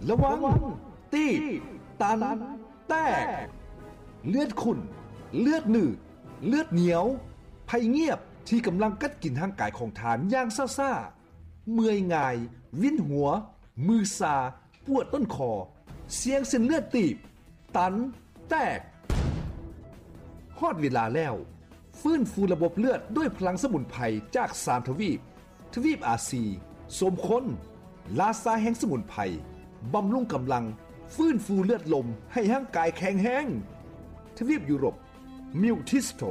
ລະວັງ ຕີບ ຕັນ ແຕກ. ເລືອດຂຸ້ນ, ເລືອດໜືດ, ເລືອດໜຽວ, ໄພງຽບທີ່ກຳລັງກັດກິນຮ່າງກາຍຂອງທ່ານຢ່າງຊ້າໆ, ເມື່ອຍງ່າຍ, ວິນຫົວ, ມືຊາ, ປວດຕົ້ນຄໍ, ສ່ຽງເສັ້ນເລືອດຕີບ, ຕັນ, ແຕກ. ຮອດເວລາແລ້ວ, ຟື້ນຟູລະບົບເລືອດດ້ວຍພະລັງສະໝຸນໄພຈາກສາມທະວີບ, ທະວີບອາຊີ, ສົມຄົນ, ລາຊາແຫ່ງສະໝຸນໄພ, ບຳລຸງກຳລັງ, ຟື້ນຟູເລືອດລົມໃຫ້ຮ່າງກາຍແຂງແຮງ. ທະວີບຢູໂຣບ, ມິວທິສໂຕ,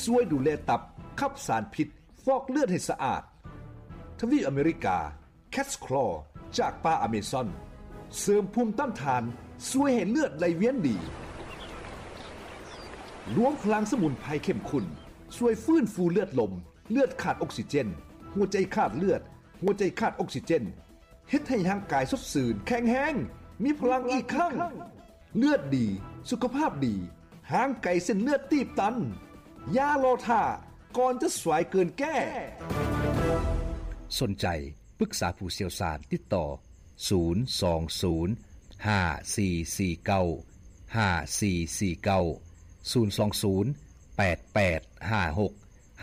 ຊ່ວຍດູແລຕັບ, ຂັບສານພິດ, ຟອກເລືອດໃຫ້ສະອາດ. ທະວີບອາເມລິກາ, ແຄດສະຄລໍຈາກປ່າອາເມຊອນ ເສີມພູມຕ້ານທານ, ຊ່ວຍໃຫ້ເລືອດໄຫຼວຽນດີ. ລວມພະລັງສະໝຸນໄພເຂັ້ມຂຸ້ນ ຊ່ວຍຟື້ນຟູເລືອດລົມ, ເລືອດຂາດອົກຊີເຈນ, ຫົວໃຈຂາດເລືອດ, ຫົວໃຈຂາດອົກຊີເຈນ, ເຮັດໃຫ້ຮ່າງກາຍສົດຊື່ນ, ແຂງແຮງ, ມີພະລັງອີກຄັ້ງ. ເລືອດດີ, ສຸຂະພາບດີ, ຫ່າງໄກເສັ້ນເລືອດຕີບຕັນ. ຢ່າລໍຖ້າ, ກ່ອນຈະສວຍເກີນແກ້. ສົນໃຈ ປຶກສາຜູ້ຊ່ຽວຊານ, ຕິດຕໍ່ ສູນສອງສູນ ຫ້າສີ່ສີ່ເກົ້າ ຫ້າສີ່ສີ່ເກົ້າ, ສູນສອງສູນ ແປດແປດຫ້າຫົກ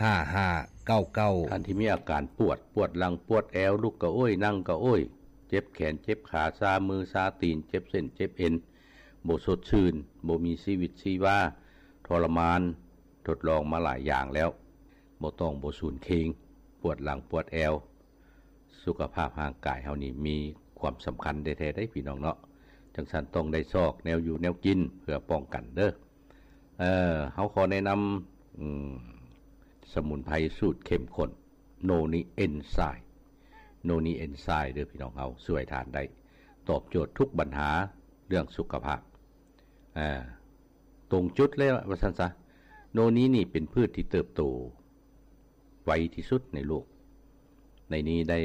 ຫ້າຫ້າເກົ້າເກົ້າ. ທ່ານທີ່ມີອາການປວດ, ປວດຫຼັງ, ປວດແອວ, ລຸກກະໂອ້ຍ, ນັ່ງກະໂອ້ຍ, ເຈັບແຂນ, ເຈັບຂາ, ຊາມື, ຊາຕີນ, ເຈັບເສັ້ນ, ເຈັບເອັນ, ບໍ່ສົດຊື່ນ, ບໍ່ມີຊີວິດຊີວາ, ທໍລະມານ, ທົດລອງມາຫຼາຍຢ່າງແລ້ວ, ບໍ່ຕ້ອງບໍ່ສູນເຄງ, ປວດຫຼັງ, ປວດແອວ, ສຸຂະພາບຮ່າງກາຍເຮົານີ້ມີຄວາມສຳຄັນແທ້ໆເດ້ ພີ່ນ້ອງເນາະ. ຈັ່ງຊັ້ນຕ້ອງໄດ້ຊອກແນວຢູ່ແນວກິນເພື່ອປ້ອງກັນເດີ້. ເອີ ເຮົາຂໍແນະນຳ ອືມ ສະໝຸນໄພສູດເຂັ້ມຂຸ້ນ ໂນນີເອັນໄຊ, ໂນນີເອັນໄຊເດີ້ ພີ່ນ້ອງເຮົາ, ຊ່ວຍທ່ານໄດ້ຕອບໂຈດທຸກບັນຫາເລື່ອງສຸຂະພາບ ອາ ຕົງຈຸດເລີຍວ່າຊັ້ນຊະ. ໂນນີນີ້ເປັນພືດທີ່ເຕີບໂຕໄວທີ່ສຸດໃນໂລກ. ໃນນີ້ໄດ້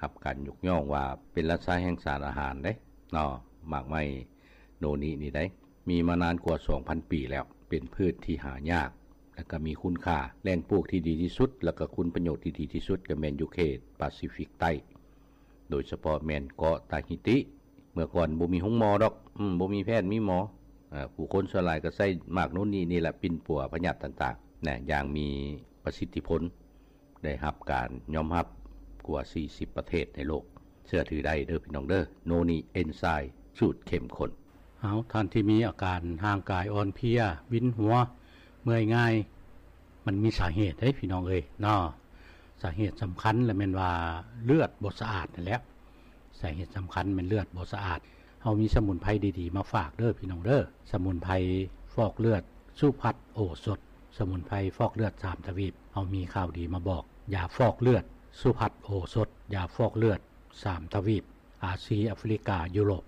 ຮັບການຍົກຍ້ອງວ່າເປັນລາຊາແຫ່ງສານອາຫານເດ້ເນາະ. ໝາກໄມ້ໂນນີນີ້ໄດ໋ ມີມານານກວ່າສອງພັນປີແລ້ວ, ເປັນພືດທີ່ຫາຍາກ ແລະ ກໍມີຄຸນຄ່າ. ແຫຼ່ງປູກທີ່ດີທີ່ສຸດ ແລະ ກໍຄຸນປະໂຫຍດທີ່ດີທີ່ສຸດ ກໍແມ່ນຢູ່ເຂດປາຊີຟິກໃຕ້, ໂດຍສະເພາະແມ່ນເກາະຕາຮີຕິ. ເມື່ອກ່ອນບໍ່ມີໂຮງໝໍດອກ, ອືມ, ບໍ່ມີແພດມີໝໍ. ເອີ, ຜູ້ຄົນສ່ວນຫຼາຍກໍໃຊ້ໝາກໂນນນີ້ນີ້ແຫຼະປິ່ນປົວພະຍາດຕ່າງໆນະ, ຢ່າງມີປະສິດທິຜົນ, ໄດ້ຮັບການຍອມຮັບກວ່າສີ່ສິບປະເທດໃນໂລກ. ເຊື່ອຖືໄດ້ເດີ້ພີ່ນ້ອງເດີ້, ໂນນີເອັນໄຊສູດເຂັ້ມຂຸ້ນ. ເອົາ, ທ່ານທີ່ມີອາການຮ່າງກາຍອ່ອນເພຍ, ວິນຫົວ, ເມື່ອຍງ່າຍ, ມັນມີສາເຫດເດ້ພີ່ນ້ອງເອີຍເນາະ. ສາເຫດສຳຄັນລະແມ່ນວ່າເລືອດບໍ່ສະອາດນັ້ນແຫຼະ. ສາເຫດສຳຄັນແມ່ນເລືອດບໍ່ສະອາດ. ເຮົາມີສະໝຸນໄພດີໆມາຝາກເດີ້ພີ່ນ້ອງເດີ້. ສະໝຸນໄພຟອກເລືອດສຸພັດໂອສົດ, ສະໝຸນໄພຟອກເລືອດສາມທະວີບ. ເຮົາມີຂ່າວດີມາບອກ, ຢາຟອກເລືອດສຸພັດໂອສົດ, ຢາຟອກເລືອດສາມທະວີບ, ອາຊີ, ອາຟຣິກາ, ຢູໂຣບ.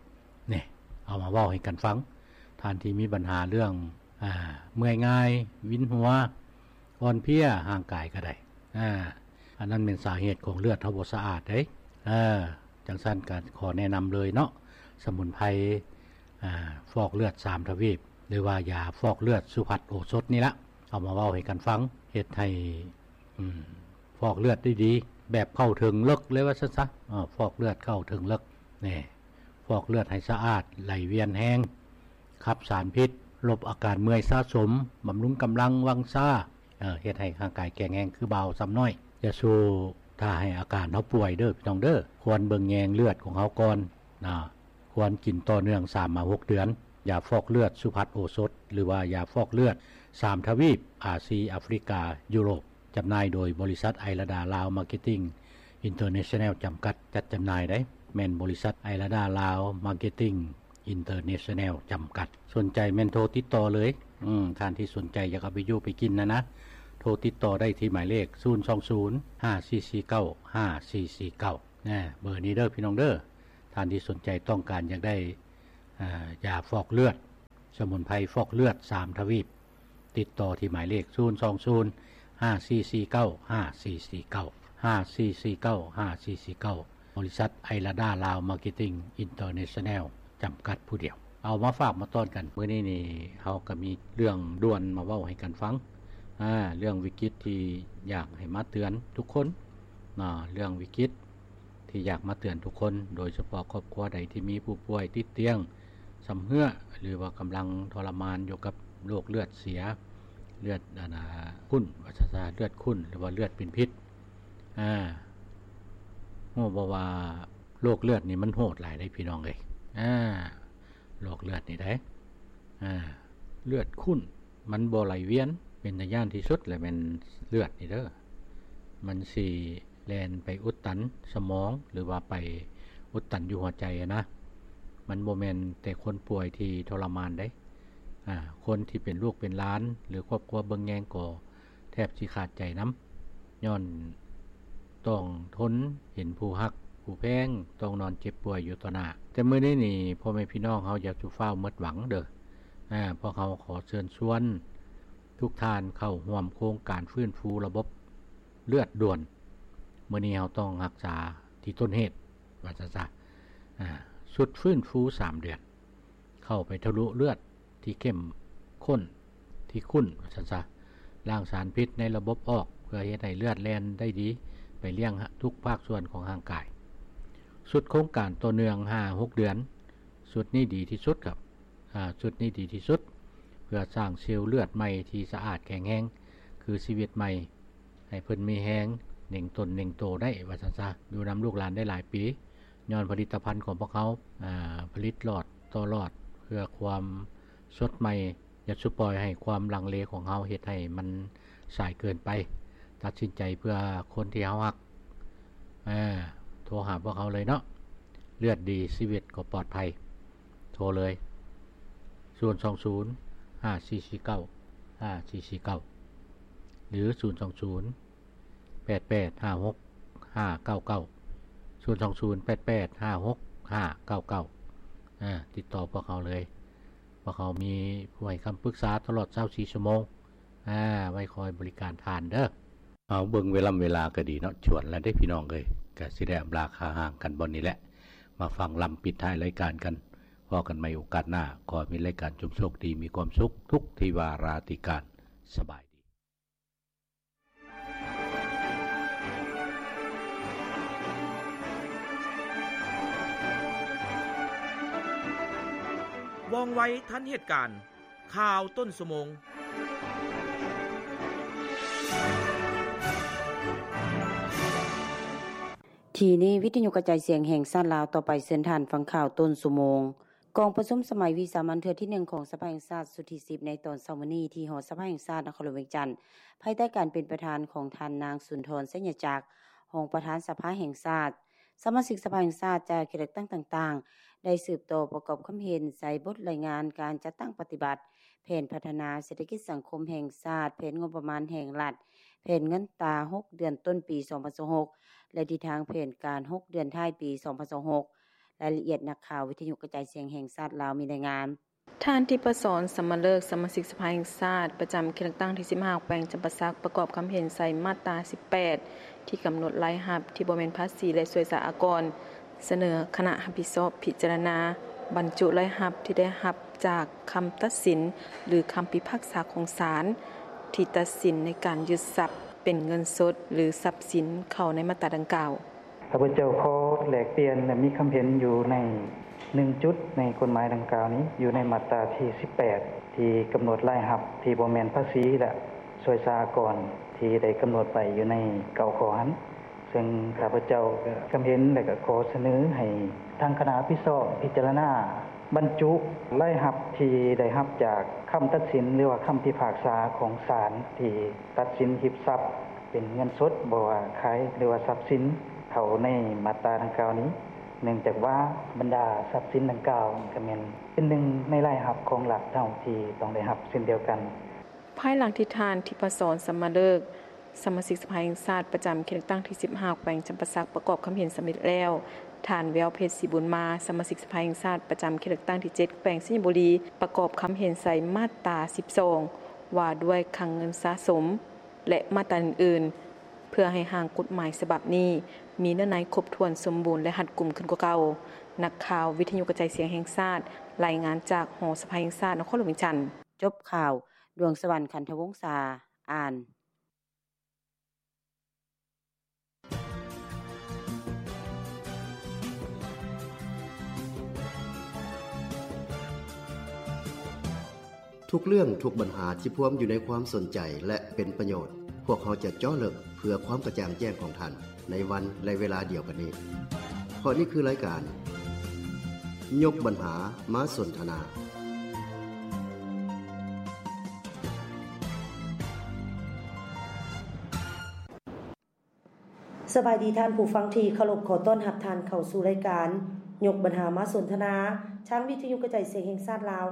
ນີ້ ເອົາມາເວົ້າໃຫ້ກັນຟັງ. ທ່ານທີ່ມີບັນຫາເລື່ອງ ອາ ເມື່ອຍງ່າຍ, ວິນຫົວ, ອ່ອນເພຍຮ່າງກາຍກໍໄດ້. ອາ ອັນນັ້ນແມ່ນສາເຫດຂອງເລືອດເຮົາບໍ່ສະອາດເດ້. ເອີ ຈັ່ງຊັ້ນກໍຂໍແນະນຳເລີຍເນາະ, ສະໝຸນໄພ ອາ ຟອກເລືອດສາມທະວີບ ຫຼືວ່າຢາຟອກເລືອດສຸພັດໂອສົດນີ້ລະ. ເອົາມາເວົ້າໃຫ້ກັນຟັງ, ເຮັດໃຫ້ ອືມ ຟອກເລືອດໄດ້ດີ ແບບເຂົ້າເຖິງເລິກເລີຍວ່າຊັ້ນຊະ. ເອີ ຟອກເລືອດເຂົ້າເຖິງເລິກ. ນີ້ ຟອກເລືອດໃຫ້ສະອາດ, ໄຫຼວຽນແຮງ, ຂັບສານພິດ, ລົບອາການເມື່ອຍສະສົມ, ບຳລຸງກຳລັງວັງຊາ, ເຮັດໃຫ້ຮ່າງກາຍແຂງແຮງຄືບ່າວຊຳນ້ອຍ. ຢ່າສູ່ຖ້າໃຫ້ອາການເຮົາປ່ວຍເດີ້ພີ່ນ້ອງເດີ້. ຄວນເບິ່ງແຍງເລືອດຂອງເຮົາກ່ອນນະ. ຄວນກິນຕໍ່ເນື່ອງສາມມາຫົກເດືອນ. ຢາຟອກເລືອດສຸພັດໂອສົດ ຫຼືວ່າຢາຟອກເລືອດສາມທະວີບ, ອາຊີ, ອາຟຣິກາ, ຢູໂຣບ. ຈຳໜ່າຍໂດຍບໍລິສັດໄອລະດາລາວມາເກັດຕິງອິນເຕີເນຊັນແນວຈຳກັດ ຈັດຈຳໜ່າຍໄດ໋. ແມ່ນບໍລິສັດໄອລະດາລາວມາເກັດຕິງອິນເຕີເນຊັນແນວຈຳກັດ. ສົນໃຈແມ່ນໂທຕິດຕໍ່ເລີຍ. ອືມ ທ່ານທີ່ສົນໃຈຢາກເອົາໄປຢູ່ໄປກິນຫັ້ນນະ, ໂທຕິດຕໍ່ໄດ້ທີ່ໝາຍເລກ ສູນສອງສູນ ຫ້າສີ່ສີ່ເກົ້າ ຫ້າສີ່ສີ່ເກົ້າ ນະ. ເບີນີ້ເດີ້ພີ່ນ້ອງເດີ້. ທ່ານທີ່ສົນໃຈຕ້ອງການຢາກໄດ້ ອາ ຢາຟອກເລືອດ, ສະໝຸນໄພຟອກເລືອດສາມທະວີບ, ຕິດຕໍ່ທີ່ໝາຍເລກ ສູນສອງສູນ ຫ້າສີ່ສີ່ເກົ້າ ຫ້າສີ່ສີ່ເກົ້າ ຫ້າສີ່ສີ່ເກົ້າ ຫ້າສີ່ສີ່ເກົ້າ, ບໍລິສັດໄອລະດາລາວມາເກັດຕິງອິນເຕີເນຊັນແນວຈຳກັດຜູ້ດຽວ. ເອົາມາຝາກມາຕ້ອນກັນ. ມື້ນີ້ນີ້ເຮົາກໍມີເລື່ອງດ່ວນມາເວົ້າໃຫ້ກັນຟັງ, ອາ ເລື່ອງວິກິດທີ່ຢາກໃຫ້ມາເຕືອນທຸກຄົນນະ, ເລື່ອງວິກິດ ທີ່ຢາກມາເຕືອນທຸກຄົນ, ໂດຍສະເພາະຄອບຄົວໃດທີ່ມີຜູ້ປ່ວຍຕິດຕຽງຊຳເຮື້ອ ຫຼືວ່າກຳລັງທໍລະມານຢູ່ກັບໂລກເລືອດເສຍ, ເລືອດ ອັນນ່າ ຂຸ້ນ ວ່າຊັ້ນຊະ, ເລືອດຂຸ້ນ ຫຼືວ່າເລືອດເປັນພິດ. ອາ ຮູ້ບໍ່ວ່າໂລກເລືອດນີ້ມັນໂຫດຫຼາຍເດ້ພີ່ນ້ອງເອີຍ. ອາ ໂລກເລືອດນີ້ໄດ໋ ອາ ເລືອດຂຸ້ນ ມັນບໍ່ໄຫຼວຽນ, ເປັນຕາຢ້ານທີ່ສຸດແຫຼະແມ່ນເລືອດນີ້ເດີ. ມັນຊິແລ່ນໄປອຸດຕັນສະໝອງ ຫຼືວ່າໄປອຸດຕັນຢູ່ຫົວໃຈຫັ້ນນະ. ມັນບໍ່ແມ່ນແຕ່ຄົນປ່ວຍທີ່ທໍລະມານເດ້, ອາ ຄົນທີ່ເປັນລູກເປັນຫຼານ ຫຼືຄອບຄົວເບິ່ງແຍງກໍແທບຊິຂາດໃຈນຳ, ຍ້ອນຕ້ອງທົນເຫັນຜູ້ຮັກຜູ້ແພງຕ້ອງນອນເຈັບປ່ວຍຢູ່ຕໍ່ໜ້າ. ແຕ່ມື້ນີ້ນີ້ ພໍ່ແມ່ພີ່ນ້ອງເຮົາຢ່າສູ່ຟ້າວໝົດຫວັງເດີ. ອາ ພວກເຮົາຂໍເຊີນຊວນທຸກທ່ານເຂົ້າຮ່ວມໂຄງການຟື້ນຟູລະບົບເລືອດດ່ວນ. ມື້ນີ້ເຮົາຕ້ອງຮັກສາທີ່ຕົ້ນເຫດ ວ່າຊັ້ນຊະ. ອາ ຊຸດຟື້ນຟູສາມເດືອນ ເຂົ້າໄປທະລຸເລືອດທີ່ເຂັ້ມຂຸ້ນ ທີ່ຂຸ້ນ ວ່າຊັ້ນຊະ, ລ້າງສານພິດໃນລະບົບອອກ ເພື່ອເຮັດໃຫ້ເລືອດແລ່ນໄດ້ດີໄປລ້ຽງທຸກພາກສ່ວນຂອງຮ່າງກາຍ. ຊຸດໂຄງການຕໍ່ເນື່ອງຫ້າຫົກເດືອນ, ຊຸດນີ້ດີທີ່ສຸດຄັບ. ອາ ຊຸດນີ້ດີທີ່ສຸດ ເພື່ອສ້າງເຊວເລືອດໃໝ່ທີ່ສະອາດແຂງແຮງ ຄືຊີວິດໃໝ່ ໃຫ້ເພິ່ນມີແຮງເໜັງຕົນເໜັງໂຕໄດ້ ວ່າຊັ້ນຊະ, ຢູ່ນຳລູກຫຼານໄດ້ຫຼາຍປີ. ຍ້ອນຜະລິດຕະພັນຂອງພວກເຮົາ ອາ ຜະລິດຫຼອດຕໍ່ຫຼອດ ເພື່ອຄວາມສົດໃໝ່. ຢ່າສູ່ປ່ອຍໃຫ້ຄວາມລັງເລຂອງເຮົາເຮັດໃຫ້ມັນສາຍເກີນໄປ. ຕັດສິນໃຈເພື່ອຄົນທີ່ເຮົາຮັກ. ອາ ໂທຫາພວກເຮົາເລີຍເນາະ. ເລືອດດີ ຊີວິດກໍປອດໄພ. ໂທເລີຍ ສູນສອງສູນ ຫ້າສີ່ສີ່ເກົ້າ ຫ້າສີ່ສີ່ເກົ້າ ຫຼື ສູນສອງສູນ ແປດແປດຫ້າຫົກຫ້າເກົ້າເກົ້າ, ສູນສອງສູນ ແປດແປດຫ້າຫົກຫ້າເກົ້າເກົ້າ. ອາ ຕິດຕໍ່ພວກເຮົາເລີຍ. ພວກເຮົາມີຜູ້ໃຫ້ຄຳປຶກສາຕະຫຼອດຊາວສີ່ຊົ່ວໂມງ ອາ ໄວ້ຄອຍບໍລິການທ່ານເດີ. ເອົາ ເບິ່ງເວລາ ເວລາກໍດີເນາະ, ຈວນແລ້ວເດ້ພີ່ນ້ອງເອີຍ. ກໍຊິໄດ້ອຳລາຄາຮ່າງກັນບ່ອນນີ້ແຫຼະ, ມາຟັງລຳປິດທ້າຍລາຍການກັນ. ພໍ້ກັນໃໝ່ໂອກາດໜ້າ. ຂໍໃຫ້ມີລາຍການຈົ່ງໂຊກດີ ມີຄວາມສຸກທຸກທີ່ວາລາຕິການ. ສະບາຍດີ. ວ່ອງໄວທັນເຫດການ. ຂ່າວຕົ້ນຊົ່ວໂມງ. ທີ່ນີ້ ວິທະຍຸກະຈາຍສຽງແຫ່ງຊາດລາວ. ຕໍ່ໄປເຊີນທ່ານຟັງຂ່າວຕົ້ນຊົ່ວໂມງ. ກອງປະຊຸມສະໄໝວິສາມັນເທື່ອທີໜຶ່ງຂອງສະພາແຫ່ງຊາດຊຸດທີສິບ ໃນຕອນເຊົ້າມື້ນີ້ ທີ່ຫໍສະພາແຫ່ງຊາດນະຄອນຫຼວງວຽງຈັນ, ພາຍໃຕ້ການເປັນປະທານຂອງທ່ານນາງ ສຸນທອນ ໄຊຍະຈັກ ຮອງປະທານສະພາແຫ່ງຊາດ. ສະມາຊິກສະພາແຫ່ງຊາດຈາກເຂດເລືອກຕັ້ງຕ່າງໆ ໄດ້ສືບຕໍ່ປະກອບຄຳເຫັນໃສ່ບົດລາຍງານການຈັດຕັ້ງປະຕິບັດແຜນພັດທະນາເສດຖະກິດສັງຄົມແຫ່ງຊາດ, ແຜນງົບປະມານແຫ່ງລັດ, ແຜນເງິນຕາຫົກເດືອນຕົ້ນປີສອງພັນຊາວຫົກ ແລະ ທິດທາງແຜນການຫົກເດືອນທ້າຍປີສອງພັນຊາວຫົກ. ລາຍລະອຽດ ນັກຂ່າວວິທະຍຸກະຈາຍສຽງແຫ່ງຊາດລາວມີລາຍງານ. ທ່ານ ທິບປະສອນ ສຳມະເລີກ ສະມາຊິກສະພາແຫ່ງຊາດ ປະຈຳເຂດເລືອກຕັ້ງທີສິບຫ້າ ແຂວງຈຳປາສັກ ປະກອບຄຳເຫັນໃສ່ມາດຕາສິບແປດ ທີ່ກຳນົດລາຍຮັບທີ່ບໍ່ແມ່ນພາສີ ແລະ ສວຍສາອາກອນ, ສະເໜີຄະນະຮັບຜິດຊອບພິຈາລະນາ ບັນຈຸລາຍຮັບທີ່ໄດ້ຮັບຈາກຄຳຕັດສິນ ຫຼື ຄຳພິພາກສາຂອງສານ ທີ່ຕັດສິນໃນການຍຶດຊັບເປັນເງິນສົດ ຫຼື ຊັບສິນເຂົ້າໃນມາດຕາດັ່ງກ່າວ. ຂ້າພະເຈົ້າຂໍແລກປ່ຽນ ແລະ ມີຄຳເຫັນຢູ່ໃນໜຶ່ງຈຸດໃນກົດໝາຍດັ່ງກ່າວນີ້ ຢູ່ໃນມາດຕາທີສິບແປດ ທີ່ກຳນົດລາຍຮັບທີ່ບໍ່ແມ່ນພາສີ ແລະ ສວຍສາອາກອນ ທີ່ໄດ້ກຳນົດໄວ້ຢູ່ໃນເກົ້າຂໍ້ຫັ້ນ. ເຊິ່ງຂ້າພະເຈົ້າກໍຄຳເຫັນ ແລະ ກໍຂໍສະເໜີໃຫ້ທາງຄະນະຮັບຜິດຊອບພິຈາລະນາ ບັນຈຸລາຍຮັບທີ່ໄດ້ຮັບຈາກຄຳຕັດສິນ ຫຼືວ່າຄຳພິພາກສາຂອງສານທີ່ຕັດສິນຮີບຊັບເປັນເງິນສົດ ບໍ່ວ່າຂາຍ ຫຼືວ່າຊັບສິນເຂົ້າໃນມາດຕາດັ່ງກ່າວນີ້, ເນື່ອງຈາກວ່າບັນດາຊັບສິນດັ່ງກ່າວກໍແມ່ນເປັນໜຶ່ງໃນລາຍຮັບຂອງລັດເຮົາທີ່ຕ້ອງໄດ້ຮັບເຊັ່ນດຽວກັນ. ພາຍຫຼັງທີ່ທ່ານ ທິບປະສອນ ສຳມະເລີກ ສະມາຊິກສະພາແຫ່ງຊາດປະຈຳເຂດເລືອກຕັ້ງທີສິບຫ້າ ແຂວງຈຳປາສັກ ປະກອບຄຳເຫັນສຳເລັດແລ້ວ, ທ່ານ ແວວເພັດ ສີບຸນມາ ສະມາຊິກສະພາແຫ່ງຊາດປະຈຳເຂດເລືອກຕັ້ງທີເຈັດ ແຂວງໄຊຍະບູລີ ປະກອບຄຳເຫັນໃສ່ມາດຕາສິບສອງ ວ່າດ້ວຍຄັງເງິນສະສົມ ແລະ ມາດຕາອື່ນໆ ເພື່ອໃຫ້ຮ່າງກົດໝາຍສະບັບນີ້ມີເນື້ອໃນຄົບຖ້ວນສົມບູນ ແລະ ຮັດກຸມຂຶ້ນກວ່າເກົ່າ. ນັກຂ່າວວິທະຍຸກະຈາຍສຽງແຫ່ງຊາດ ລາຍງານຈາກຫໍສະພາແຫ່ງຊາດນະຄອນຫຼວງວຽງຈັນ. ຈົບຂ່າວ, ດວງສະຫວັນ ຂັນທະວົງສາ ອ່ານ. ທຸກເລື່ອງ, ທຸກບັນຫາທີ່ພວມຢູ່ໃນຄວາມສົນໃຈ ແລະ ເປັນປະໂຫຍດ, ພວກເຮົາຈະເຈາະເລິກເພື່ອຄວາມກະຈ່າງແຈ້ງຂອງທ່ານ ໃນວັນ ແລະ ເວລາດຽວກັນນີ້. ເພາະນີ້ຄືລາຍການ ຍົກບັນຫາມາສົນທະນາ. ສະບາຍດີທ່ານຜູ້ຟັງທີ່ເຄົາລົບ, ຂໍຕ້ອນຮັບທ່ານເຂົ້າສູ່ລາຍການ ຍົກບັນຫາມາສົນທະນາ ທາງວິທະຍຸກະຈາຍສຽງແຫ່ງຊາດລາວ.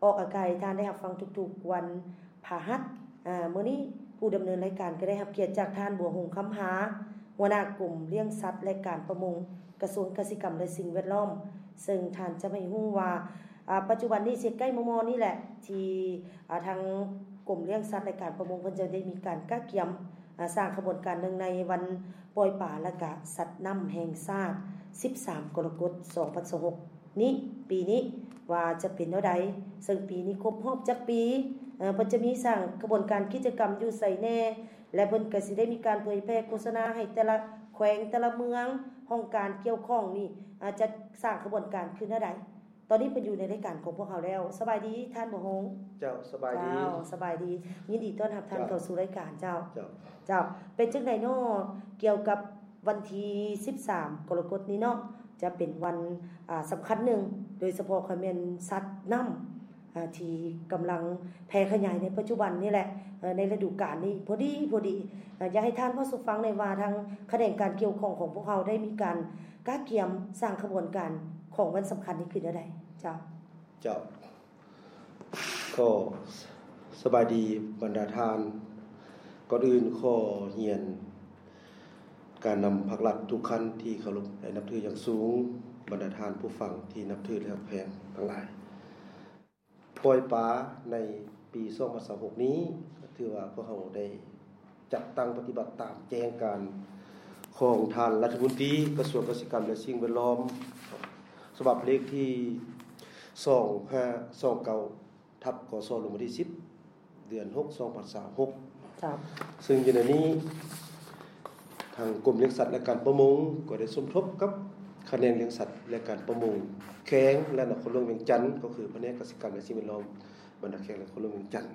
ອອກອາກາດໃຫ້ທ່ານໄດ້ຮັບຟັງທຸກໆວັນພະຫັດ. ອາ ມື້ນີ້ຜູ້ດຳເນີນລາຍການກໍໄດ້ຮັບກຽດຈາກທ່ານ ບົວຫົງ ຄຳຫາ ຫົວໜ້າກົມລ້ຽງສັດ ແລະ ການປະມົງ ກະຊວງກະສິກຳ ແລະ ສິ່ງແວດລ້ອມ, ເຊິ່ງທ່ານຈະໃຫ້ຮູ້ວ່າ ອາ ປັດຈຸບັນນີ້ຊິໃກ້ມໍ່ໆນີ້ແຫຼະ ທີ່ ອາ ທາງກົມລ້ຽງສັດ ແລະ ການປະມົງ ເພິ່ນຈະໄດ້ມີການກະກຽມ ອາ ສ້າງຂະບວນການເນື່ອງໃນວັນປ່ອຍປາ ແລະ ກະສັດນ້ຳແຫ່ງຊາດ ສິບສາມ ກໍລະກົດ ສອງພັນຊາວຫົກນີ້ ປີນີ້ວ່າຈະເປັນແນວໃດ, ເຊິ່ງປີນີ້ຄົບຮອບຈັກປີ, ເອີ ເພິ່ນຈະມີສ້າງຂະບວນການກິດຈະກຳຢູ່ໃສແດ່ ແລະ ເພິ່ນກະຊິໄດ້ມີການເຜີຍແຜ່ໂຄສະນາໃຫ້ແຕ່ລະແຂວງ ແຕ່ລະເມືອງ ຫ້ອງການກ່ຽວຂ້ອງນີ້ ອາ ຈະສ້າງຂະບວນການຄືແນວໃດ. ຕອນນີ້ເພິ່ນຢູ່ໃນລາຍການຂອງພວກເຮົາແລ້ວ. ສະບາຍດີທ່ານ ບົວຫົງ. ເຈົ້າ ສະບາຍດີ. ເຈົ້າ ສະບາຍດີ. ຍິນດີຕ້ອນຮັບທ່ານ ເຈົ້າ ເຂົ້າສູ່ລາຍການ. ເຈົ້າ ເຈົ້າ ເຈົ້າ ເປັນຈັ່ງໃດເນາະ ກ່ຽວກັບວັນທີສິບສາມ ກໍລະກົດນີ້ເນາະ ຈະເປັນວັນ ອາ ສຳຄັນໜຶ່ງ, ໂດຍສະເພາະກໍແມ່ນສັດນ້ຳ ອາ ທີ່ກຳລັງແຜ່ຂະຫຍາຍໃນປັດຈຸບັນນີ້ແຫຼະ ເອີ ໃນລະດູການນີ້ພໍດີ ພໍດີ. ເອີ ຢາກໃຫ້ທ່ານເວົ້າສູ່ຟັງແດ່ວ່າ ທາງຂະແໜງການກ່ຽວຂ້ອງຂອງພວກເຮົາໄດ້ມີການກະກຽມສ້າງຂະບວນການຂອງວັນສຳຄັນນີ້ຄືແນວໃດ? ເຈົ້າ. ເຈົ້າ ກໍສະບາຍດີບັນດາທ່ານ. ກ່ອນອື່ນຂໍຮຽນການນຳພັກລັດທຸກຂັ້ນທີ່ເຄົາລົບ ແລະ ນັບຖືຢ່າງສູງ, ບັນດາທ່ານຜູ້ຟັງທີ່ນັບຖື ແລະ ຮັກແພງທັງຫຼາຍ. ປ່ອຍປາໃນປີສອງພັນຊາວຫົກນີ້ ກໍຖືວ່າພວກເຮົາໄດ້ຈັດຕັ້ງປະຕິບັດຕາມແຈ້ງການຂອງທ່ານລັດຖະມົນຕີກະຊວງກະສິກຳ ແລະ ສິ່ງແວດລ້ອມ ສະບັບເລກທີສອງຫ້າສອງເກົ້າ ທັບ ກສ ລົງວັນທີສິບ ເດືອນຫົກ ສອງພັນຊາວຫົກ. ເຈົ້າ. ເຊິ່ງຢູ່ໃນນີ້ ທາງກົມລ້ຽງສັດ ແລະ ການປະມົງ ກໍໄດ້ສົມທົບກັບຂະແໜງລ້ຽງສັດ ແລະ ການປະມົງແຂວງ ແລະ ນະຄອນຫຼວງວຽງຈັນ, ກໍຄືພະແນກກະສິກຳ ແລະ ສິ່ງແວດລ້ອມ ບັນດາແຂວງ ແລະ ນະຄອນຫຼວງວຽງຈັນ,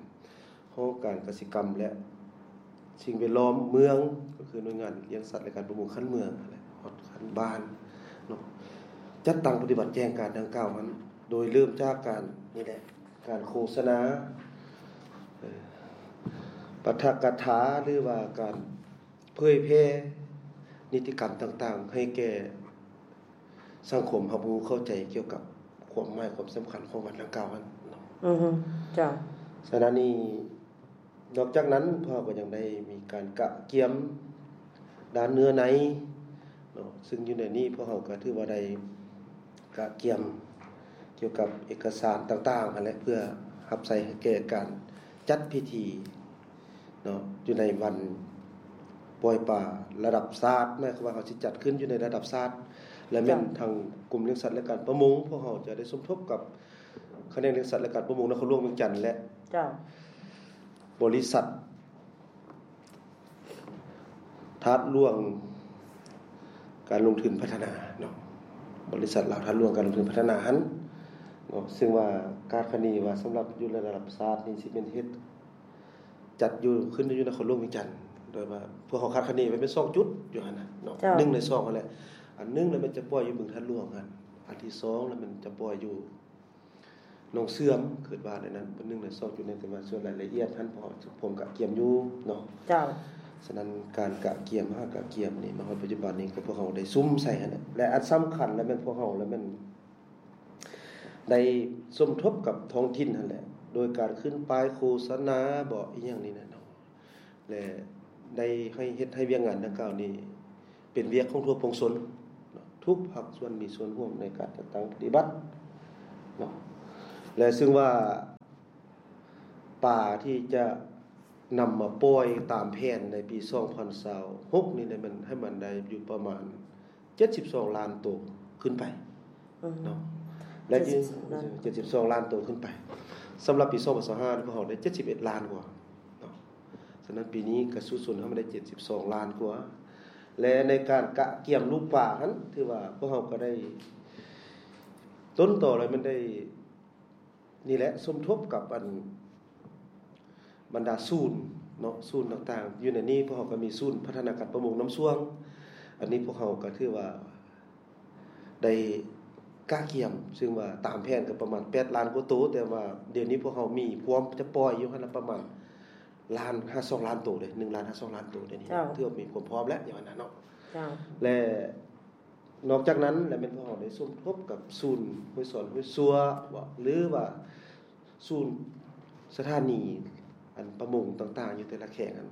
ຫ້ອງການກະສິກຳ ແລະ ສິ່ງແວດລ້ອມເມືອງ ກໍຄືໜ່ວຍງານລ້ຽງສັດ ແລະ ການປະມົງຂັ້ນເມືອງ ແລະ ຮອດຂັ້ນບ້ານເນາະ, ຈັດຕັ້ງປະຕິບັດແຈ້ງການດັ່ງກ່າວນັ້ນ ໂດຍເລີ່ມຈາກການ ນີ້ແຫຼະ ການໂຄສະນາ ເອີ ປາຖະກະຖາ ຫຼືວ່າການເຜີຍແຜ່ນິຕິກຳຕ່າງໆ ໃຫ້ແກ່ສັງຄົມຮັບຮູ້ເຂົ້າໃຈກ່ຽວກັບຄວາມໝາຍຄວາມສຳຄັນຂອງວັນດັ່ງກ່າວນັ້ນເນາະ. ອືຮຶ ເຈົ້າ. ສະນັ້ນນີ້ ນອກຈາກນັ້ນ ພວກເຮົາກໍຍັງໄດ້ມີການກະກຽມດ້ານເນື້ອໃນເນາະ, ເຊິ່ງຢູ່ໃນນີ້ພວກເຮົາກໍຖືວ່າໄດ້ກະກຽມກ່ຽວກັບເອກະສານຕ່າງໆຫັ້ນແຫຼະ ເພື່ອຮັບໃຊ້ໃຫ້ແກ່ການຈັດພິທີເນາະ ຢູ່ໃນວັນປ່ອຍປາລະດັບຊາດ, ໝາຍຄວາມວ່າເຮົາຊິຈັດຂຶ້ນຢູ່ໃນລະດັບຊາດ ແລະ ແມ່ນ ເຈົ້າ ທາງກົມລ້ຽງສັດ ແລະ ການປະມົງ ພວກເຮົາຈະໄດ້ສົມທົບກັບ ຂະແໜງລ້ຽງສັດ ແລະ ການປະມົງນະຄອນຫຼວງວຽງຈັນ ແລະ ເຈົ້າ ບໍລິສັດທາດຫຼວງການລົງທຶນພັດທະນາເນາະ, ບໍລິສັດລາວທາດຫຼວງການລົງທຶນພັດທະນາຫັ້ນເນາະ, ເຊິ່ງວ່າຄາດຄະເນວ່າສຳລັບຢູ່ລະດັບຊາດນີ້ຊິແມ່ນເຮັດ ຈັດຢູ່ ຂຶ້ນຢູ່ນະຄອນຫຼວງວຽງຈັນ, ໂດຍວ່າພວກເຮົາຄາດຄະເນໄວ້ແມ່ນສອງຈຸດຢູ່ຫັ້ນນະເນາະ, ເຈົ້າ ໜຶ່ງ ແລະ ສອງ ຫັ້ນແຫຼະ. ອັນໜຶ່ງລະແມ່ນຈະປ່ອຍຢູ່ບຶງທາດຫຼວງຫັ້ນ, ອັນທີສອງລະແມ່ນຈະປ່ອຍຢູ່ ໜອງເຊື່ອມ ຄິດວ່າແນວນັ້ນ, ເປັນໜຶ່ງໃນສອງຈຸດນີ້, ແຕ່ວ່າສ່ວນລາຍລະອຽດຫັ້ນ ພວກເຮົາກະກຽມຢູ່ເນາະ. ເຈົ້າ. ສະນັ້ນ ການກະກຽມ ຫາກະກຽມນີ້ ມາຮອດປັດຈຸບັນນີ້ ກໍພວກເຮົາໄດ້ສຸມໃສ່ຫັ້ນແຫຼະ ແລະ ອັນສຳຄັນລະແມ່ນ ພວກເຮົາລະແມ່ນໄດ້ສົມທົບກັບທ້ອງຖິ່ນຫັ້ນແຫຼະ ໂດຍການຂຶ້ນປ້າຍໂຄສະນາບໍ ອີ່ຫຍັງນີ້ແຫຼະເນາະ. ແລະ ໄດ້ໃຫ້ເຮັດໃຫ້ວຽກງານດັ່ງກ່າວນີ້ເປັນວຽກຂອງທົ່ວປວງຊົນເນາະ, ທຸກພາກສ່ວນມີສ່ວນຮ່ວມໃນການຈັດຕັ້ງປະຕິບັດເນາະ. ແລະ ເຊິ່ງວ່າປາທີ່ຈະນຳມາປ່ອຍຕາມແຜນໃນປີສອງພັນຊາວຫົກນີ້ ແມ່ນໃຫ້ມັນໄດ້ຢູ່ປະມານ ເຈັດສິບສອງລ້ານໂຕຂຶ້ນໄປ ອືມ ເນາະ ແລະ ເຈັດສິບສອງລ້ານ ເຈັດສິບສອງລ້ານໂຕຂຶ້ນໄປ. ສຳລັບປີສອງພັນຊາວຫ້າ ພວກເຮົາໄດ້ເຈັດສິບເອັດລ້ານກວ່າເນາະ, ສະນັ້ນປີນີ້ກະສູ້ຊົນໃຫ້ມັນໄດ້ເຈັດສິບສອງລ້ານກວ່າ. ແລະ ໃນການກະກຽມລູກປາຫັ້ນ ຖືວ່າພວກເຮົາກະໄດ້ ຕົ້ນຕໍແລ້ວແມ່ນໄດ້ ນີ້ແຫຼະ ສົມທົບກັບອັນ ບັນດາສູນເນາະ ສູນຕ່າງໆ ຢູ່ໃນນີ້ພວກເຮົາກໍມີສູນພັດທະນາການປະມົງນ້ຳຊ່ວງ. ອັນນີ້ພວກເຮົາກໍຖືວ່າໄດ້ກະກຽມ ຊຶ່ງວ່າຕາມແຜນກໍປະມານແປດລ້ານກວ່າໂຕ, ແຕ່ວ່າດຽວນີ້ພວກເຮົາມີພວມຈະປ່ອຍຢູ່ຫັ້ນລະປະມານລ້ານຫາສອງລ້ານໂຕເດ້, ໜຶ່ງລ້ານຫາສອງລ້ານໂຕດຽວນີ້ ເຈົ້າ ຖືວ່າມີຄວາມພ້ອມແລ້ວ ຢ່າງນັ້ນເນາະ. ເຈົ້າ ແລະ ນອກຈາກນັ້ນແລ້ວແມ່ນພວກເຮົາໄດ້ສົມທົບກັບສູນຫ້ວຍສອນຫ້ວຍຊວ ຫຼືວ່າສູນສະຖານີອັນປະມົງຕ່າງໆ ຢູ່ແຕ່ລະແຂວງຫັ້ນ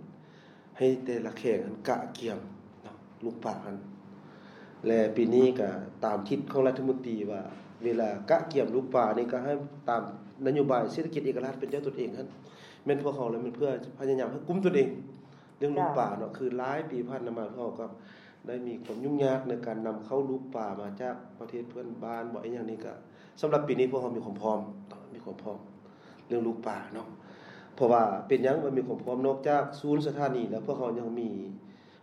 ໃຫ້ແຕ່ລະແຂວງຫັ້ນກະກຽມເນາະ ລູກປາຫັ້ນ. ແລະ ປີນີ້ກະຕາມທິດຂອງລັດຖະມົນຕີວ່າ ເວລາກະກຽມລູກປານີ້ ກະໃຫ້ຕາມນະໂຍບາຍເສດຖະກິດເອກະລາດເປັນເຈົ້າຕົນເອງຫັ້ນ ແມ່ນພວກເຮົາແລ້ວແມ່ນເພື່ອພະຍາຍາມໃຫ້ກຸ້ມຕົນເອງ ເລື່ອງລູກປາເນາະ. ຄືຫຼາຍປີຜ່ານມາພວກເຮົາກໍໄດ້ມີຄວາມຫຍຸ້ງຍາກໃນການນຳເຂົ້າລູກປາມາຈາກປະເທດເພື່ອນບ້ານບໍ ອີ່ຫຍັງນີ້ກະ ສຳລັບປີນີ້ພວກເຮົາມີຄວາມພ້ອມ ມີຄວາມພ້ອມເລື່ອງລູກປາເນາະ. ເພາະວ່າເປັນຫຍັງວ່າມີຄວາມພ້ອມ ນອກຈາກສູນສະຖານີແລ້ວ ພວກເຮົາຍັງມີ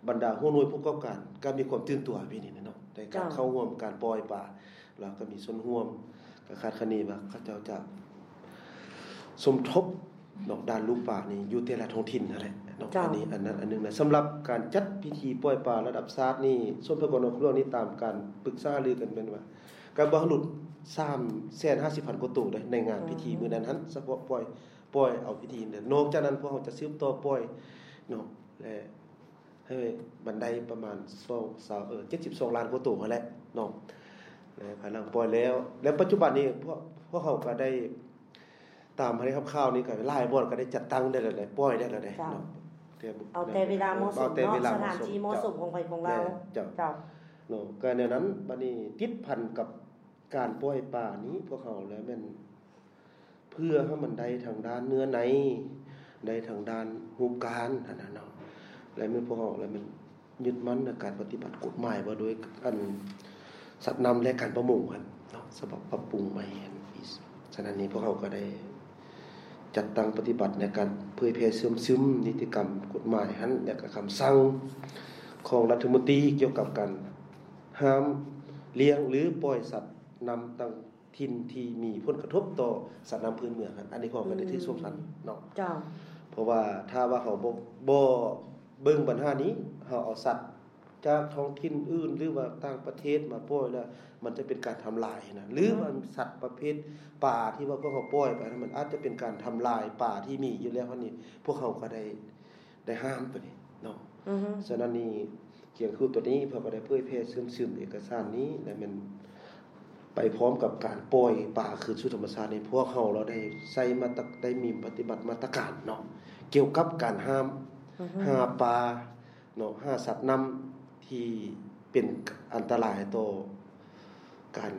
ບັນດາຫົວໜ່ວຍຜູ້ປະກອບການກໍມີຄວາມຕື່ນຕົວປີນີ້ເນາະ ໃນການເຂົ້າຮ່ວມການປ່ອຍປາ ແລ້ວກໍມີສ່ວນຮ່ວມ ກໍຄາດຄະເນວ່າເຂົາເຈົ້າຈະສົມທົບເນາະ ດ້ານລູກປານີ້ຢູ່ແຕ່ລະທ້ອງຖິ່ນຫັ້ນແຫຼະເນາະ. ອັນນີ້ອັນນັ້ນອັນໜຶ່ງນະ. ສຳລັບການຈັດພິທີປ່ອຍປາລະດັບຊາດນີ້ ສົມທົບກັບນອກເລື່ອງນີ້ ຕາມການປຶກສາຫາລືກັນແມ່ນວ່າ ກະບໍ່ໃຫ້ຫຼຸດສາມແສນຫ້າສິບພັນກວ່າໂຕເດ້ ໃນງານພິທີມື້ນັ້ນຫັ້ນ ສະເພາະປ່ອຍ ປ່ອຍເອົາພິທີນັ້ນ. ນອກຈາກນັ້ນພວກເຮົາຈະສືບຕໍ່ປ່ອຍເນາະ ແລະ ໃຫ້ມັນໄດ້ປະມານສອງ ເອີ ເຈັດສິບສອງລ້ານກວ່າໂຕຫັ້ນແຫຼະເນາະ. ແລະ ພາຍຫຼັງປ່ອຍແລ້ວ ແລະ ປັດຈຸບັນນີ້ພວກ ພວກເຮົາກໍໄດ້ ຕາມທີ່ໄດ້ຮັບຂ່າວນີ້ ກໍຫຼາຍບ່ອນກໍໄດ້ຈັດຕັ້ງໄດ້ແລ້ວເດ້ ປ່ອຍໄດ້ແລ້ວເດ້ເນາະ. ເອົາແຕ່ເວລາເໝາະສົມເນາະ ສະຖານທີ່ເໝາະສົມຂອງໃຜຂອງລາວ. ເຈົ້າ ເນາະ ກໍແນວນັ້ນ. ບັດນີ້ຕິດພັນກັບການປ່ອຍປານີ້ ພວກເຮົາແລ້ວແມ່ນ ເພື່ອໃຫ້ມັນໄດ້ທາງດ້ານເນື້ອໃນ ໄດ້ທາງດ້ານຮູບການຫັ້ນນະເນາະ. ແລະ ແມ່ນພວກເຮົາ ແລະ ແມ່ນຍຶດໝັ້ນໃນການປະຕິບັດກົດໝາຍວ່າໂດຍອັນສັດນ້ຳ ແລະ ການປະມົງຫັ້ນເນາະ ສະບັບປັບປຸງໃໝ່ຫັ້ນ. ສະນັ້ນນີ້ພວກເຮົາກໍໄດ້ຈັດຕັ້ງປະຕິບັດໃນການເຜີຍແຜ່ເຊື່ອມຊຶມນິຕິກຳກົດໝາຍຫັ້ນ ແລະ ກະຄຳສັ່ງຂອງລັດຖະມົນຕີກ່ຽວກັບການຫ້າມລ້ຽງ ຫຼື ປ່ອຍສັດນ້ຳຕ່າງ ຖິ່ນທີ່ມີຜົນກະທົບຕໍ່ສັດນ້ຳພື້ນເມືອງຫັ້ນ ອັນນີ້ພວກເຮົາກໍໄດ້ຖືສວມສັດເນາະ. ເຈົ້າ ເພາະວ່າຖ້າວ່າເຮົາບໍ່ ບໍ່ເບິ່ງບັນຫານີ້ ເຮົາເອົາສັດຈາກທ້ອງຖິ່ນອື່ນ ຫຼືວ່າຕ່າງປະເທດມາປ່ອຍແລ້ວ ມັນຈະເປັນການທຳລາຍນະ ຫຼືວ່າສັດປະເພດປາທີ່ວ່າພວກເຮົາປ່ອຍໄປນັ້ນ ມັນອາດຈະເປັນການທຳລາຍປາທີ່ມີຢູ່ແລ້ວຫັ້ນນີ້ ພວກເຮົາກໍໄດ້ ໄດ້ຫ້າມໂຕນີ້ເນາະ. ສະນັ້ນນີ້ ກຽງຄູໂຕນີ້ເພິ່ນກໍໄດ້ເຜີຍແຜ່ເຊື່ອມຊຶມເອກະສານນີ້ ແລະ ແມ່ນໄປພ້ອມກັບການປ່ອຍປາຄືນສູ່ທຳມະຊາດນີ້ ພວກເຮົາລະໄດ້ໃຊ້ມາດຕະ ໄດ້ມີປະຕິບັດມາດຕະການເນາະ ກ່ຽວກັບການຫ້າມຫາປາເນາະ ຫາສັດນ້ຳທີ່ເປັນອັນຕະລາຍຕໍ່ ການ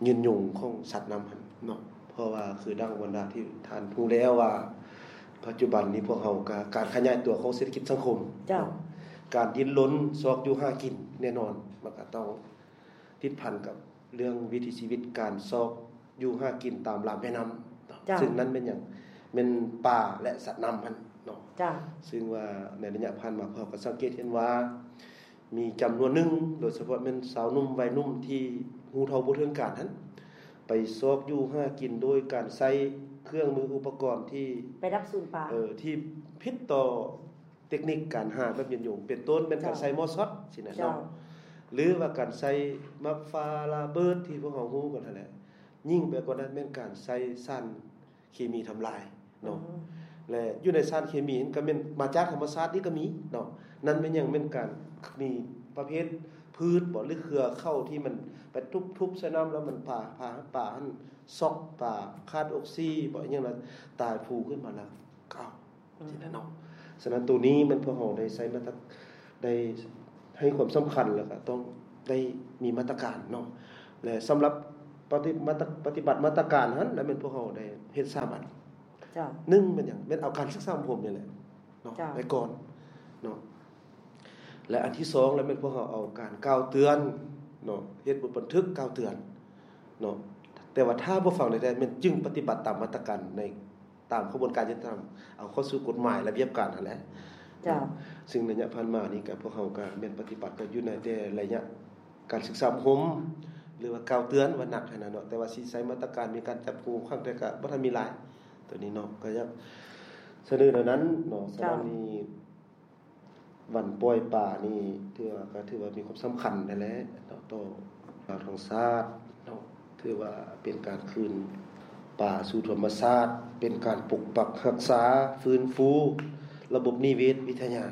ຍືນຍົງຂອງສັດນ້ຳຫັ້ນເນາະ. ເພາະວ່າຄືດັ່ງບັນດາທີ່ທ່ານຮູ້ແລ້ວວ່າ ປັດຈຸບັນນີ້ພວກເຮົາກະ ການຂະຫຍາຍຕົວຂອງເສດຖະກິດສັງຄົມ ເຈົ້າ ເນາະ ການດີ້ນລົນຊອກຢູ່ຫາກິນ ແນ່ນອນມັນກະຕ້ອງຕິດພັນກັບເລື່ອງວິຖີຊີວິດ ການຊອກຢູ່ຫາກິນຕາມລຳແມ່ນ້ຳເນາະ. ເຈົ້າ ຊຶ່ງນັ້ນແມ່ນຫຍັງ? ແມ່ນປາ ແລະ ສັດນ້ຳຫັ້ນເນາະ. ເຈົ້າ ຊຶ່ງວ່າໃນໄລຍະຜ່ານມາ ພວກເຮົາກະສັງເກດເຫັນວ່າ ມີຈຳນວນໜຶ່ງ ໂດຍສະເພາະແມ່ນຊາວໜຸ່ມໄວໜຸ່ມທີ່ຮູ້ເທົ່າບໍ່ເຖິງການຫັ້ນ ໄປຊອກຢູ່ຫາກິນໂດຍການໃຊ້ເຄື່ອງມືອຸປະກອນທີ່ ໄປດັບສູນປາ ເອີ ທີ່ຜິດຕໍ່ເຕັກນິກການຫາແບບຍືນຍົງ ເປັນຕົ້ນແມ່ນການໃຊ້ໝໍ້ຊັອດຊີ້ນະເນາະ ຫຼືວ່າການໃຊ້ໝາກຟ້າລະເບີດທີ່ພວກເຮົາຮູ້ກັນຫັ້ນແຫຼະ. ຍິ່ງໄປກວ່ານັ້ນແມ່ນການໃຊ້ສານ ເຄມີທຳລາຍເນາະ ແລະ ຢູ່ໃນສານເຄມີນັ້ນກໍແມ່ນມາຈາກທຳມະຊາດນີ້ກໍມີເນາະ. ນັ້ນແມ່ນຫຍັງ? ແມ່ນການມີປະເພດພືດບໍ ຫຼື ເຄືອເຂົ້າທີ່ມັນໄປທຸບໆໃສ່ນ້ຳ ແລ້ວມັນປາ ປາ ປາຫັ້ນຊັອກ ປາຂາດອົກຊີບໍ ອີ່ຫຍັງນັ້ນ ຕາຍຟູຂຶ້ນມາແລ້ວກໍເອົາ ຈັ່ງຊີ້ນະເນາະ. ສະນັ້ນໂຕນີ້ແມ່ນພວກເຮົາໄດ້ໃຊ້ມາດຕະ ໄດ້ໃຫ້ຄວາມສຳຄັນ ແລ້ວກໍຕ້ອງໄດ້ມີມາດຕະການເນາະ ແລະ ສຳລັບປະຕິ ມາດຕະ ປະຕິບັດມາດຕະການຫັ້ນ ແລ້ວແມ່ນພວກເຮົາໄດ້ເຮັດສາມອັນ. ເຈົ້າ ໜຶ່ງແມ່ນຫຍັງ? ແມ່ນເອົາການສຶກສາອົບຮົມນີ້ແຫຼະເນາະ ເຈົ້າ ໄປກ່ອນເນາະ ແລະ ອັນທີສອງແລ້ວແມ່ນພວກເຮົາເອົາການກ່າວເຕືອນເນາະ ເຮັດບົດບັນທຶກກ່າວເຕືອນເນາະ ແຕ່ວ່າຖ້າບໍ່ຟັງໃດໆ ແມ່ນຈຶ່ງປະຕິບັດຕາມມາດຕະການໃນ ຕາມຂະບວນການຍຸຕິທຳ ເອົາເຂົ້າສູ່ກົດໝາຍລະບຽບການຫັ້ນແຫຼະ. ເຈົ້າ ຊຶ່ງໄລຍະຜ່ານມານີ້ກະ ພວກເຮົາກະແມ່ນປະຕິບັດກັນຢູ່ໃນແຕ່ໄລຍະການສຶກສາອົບຮົມ ຫຼືວ່າກ່າວເຕືອນວ່າໜັກຫັ້ນນະເນາະ ແຕ່ວ່າຊິໃຊ້ມາດຕະການມີການຈັບກຸມຄັ້ງແຕ່ກໍບໍ່ທັນມີຫຼາຍ ໂຕນີ້ເນາະ ກໍຢາກສະເໜີແນວນັ້ນເນາະ. ສະນັ້ນນີ້ ວັນປ່ອຍປານີ້ຖືວ່າ ກໍຖືວ່າມີຄວາມສຳຄັນນັ້ນແຫຼະເນາະ ຕໍ່ລາວທັງຊາດເນາະ ຖືວ່າເປັນການຄືນປາສູ່ທຳມະຊາດ ເປັນການປົກປັກຮັກສາ ຟື້ນຟູລະບົບນິເວດວິທະຍາ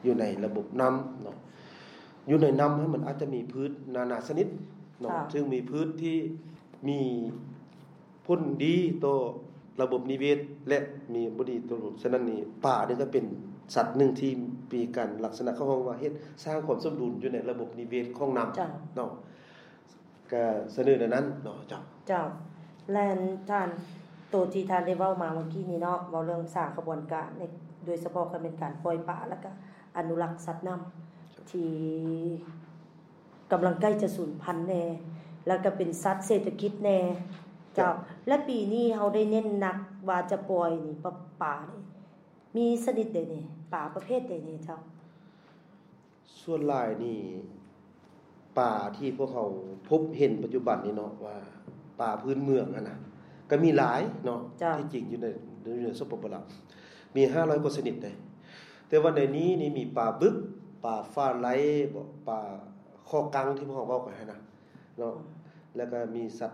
ຢູ່ໃນລະບົບນ້ຳເນາະ. ຢູ່ໃນນ້ຳຫັ້ນມັນອາດຈະມີພືດນານາຊະນິດເນາະ ເຊິ່ງມີພືດທີ່ມີ ຜົນດີຕໍ່ລະບົບນິເວດ ແລະ ມີບໍ່ດີຕໍ່ ສະນັ້ນນີ້ ປານີ້ກໍເປັນສັດໜຶ່ງທີ່ມີການລັກສະນະເຂົາຮ້ອງວ່າເຮັດ ສ້າງຄວາມສົມດຸນຢູ່ໃນລະບົບນິເວດຂອງນ້ຳເນາະ ກໍສະເໜີແນວນັ້ນເນາະ. ເຈົ້າ ເຈົ້າ ແລະ ທ່ານ ໂຕທີ່ທ່ານໄດ້ເວົ້າມາເມື່ອກີ້ນີ້ເນາະ ເວົ້າເລື່ອງສ້າງຂະບວນການ ໂດຍສະເພາະກໍແມ່ນການປ່ອຍປາ ແລ້ວກໍອະນຸລັກສັດນ້ຳທີ່ ກຳລັງໃກ້ຈະສູນພັນແດ່ ແລ້ວກໍເປັນສັດເສດຖະກິດແດ່ ເຈົ້າ. ແລະ ປີນີ້ເຮົາໄດ້ເນັ້ນໜັກວ່າຈະປ່ອຍນີ້ ປາ ປານີ້ ມີຊະນິດໃດແດ່ ປາປະເພດໃດແດ່ເຈົ້າ? ສ່ວນຫຼາຍນີ້ ປາທີ່ພວກເຮົາພົບເຫັນປັດຈຸບັນນີ້ເນາະ ວ່າປາພື້ນເມືອງຫັ້ນນະ ກໍມີຫຼາຍເນາະ ທີ່ຈິງຢູ່ໃນ ຢູ່ໃນ ສປປ ລາວ ມີຫ້າຮ້ອຍກວ່າຊະນິດເດ້. ແຕ່ວ່າໃນນີ້ນີ້ມີປາບຶກ ປາຝາໄລບໍ ປາຄໍກັງທີ່ພວກເຮົາເວົ້າກັນຫັ້ນນະເນາະ ແລ້ວກໍມີສັດ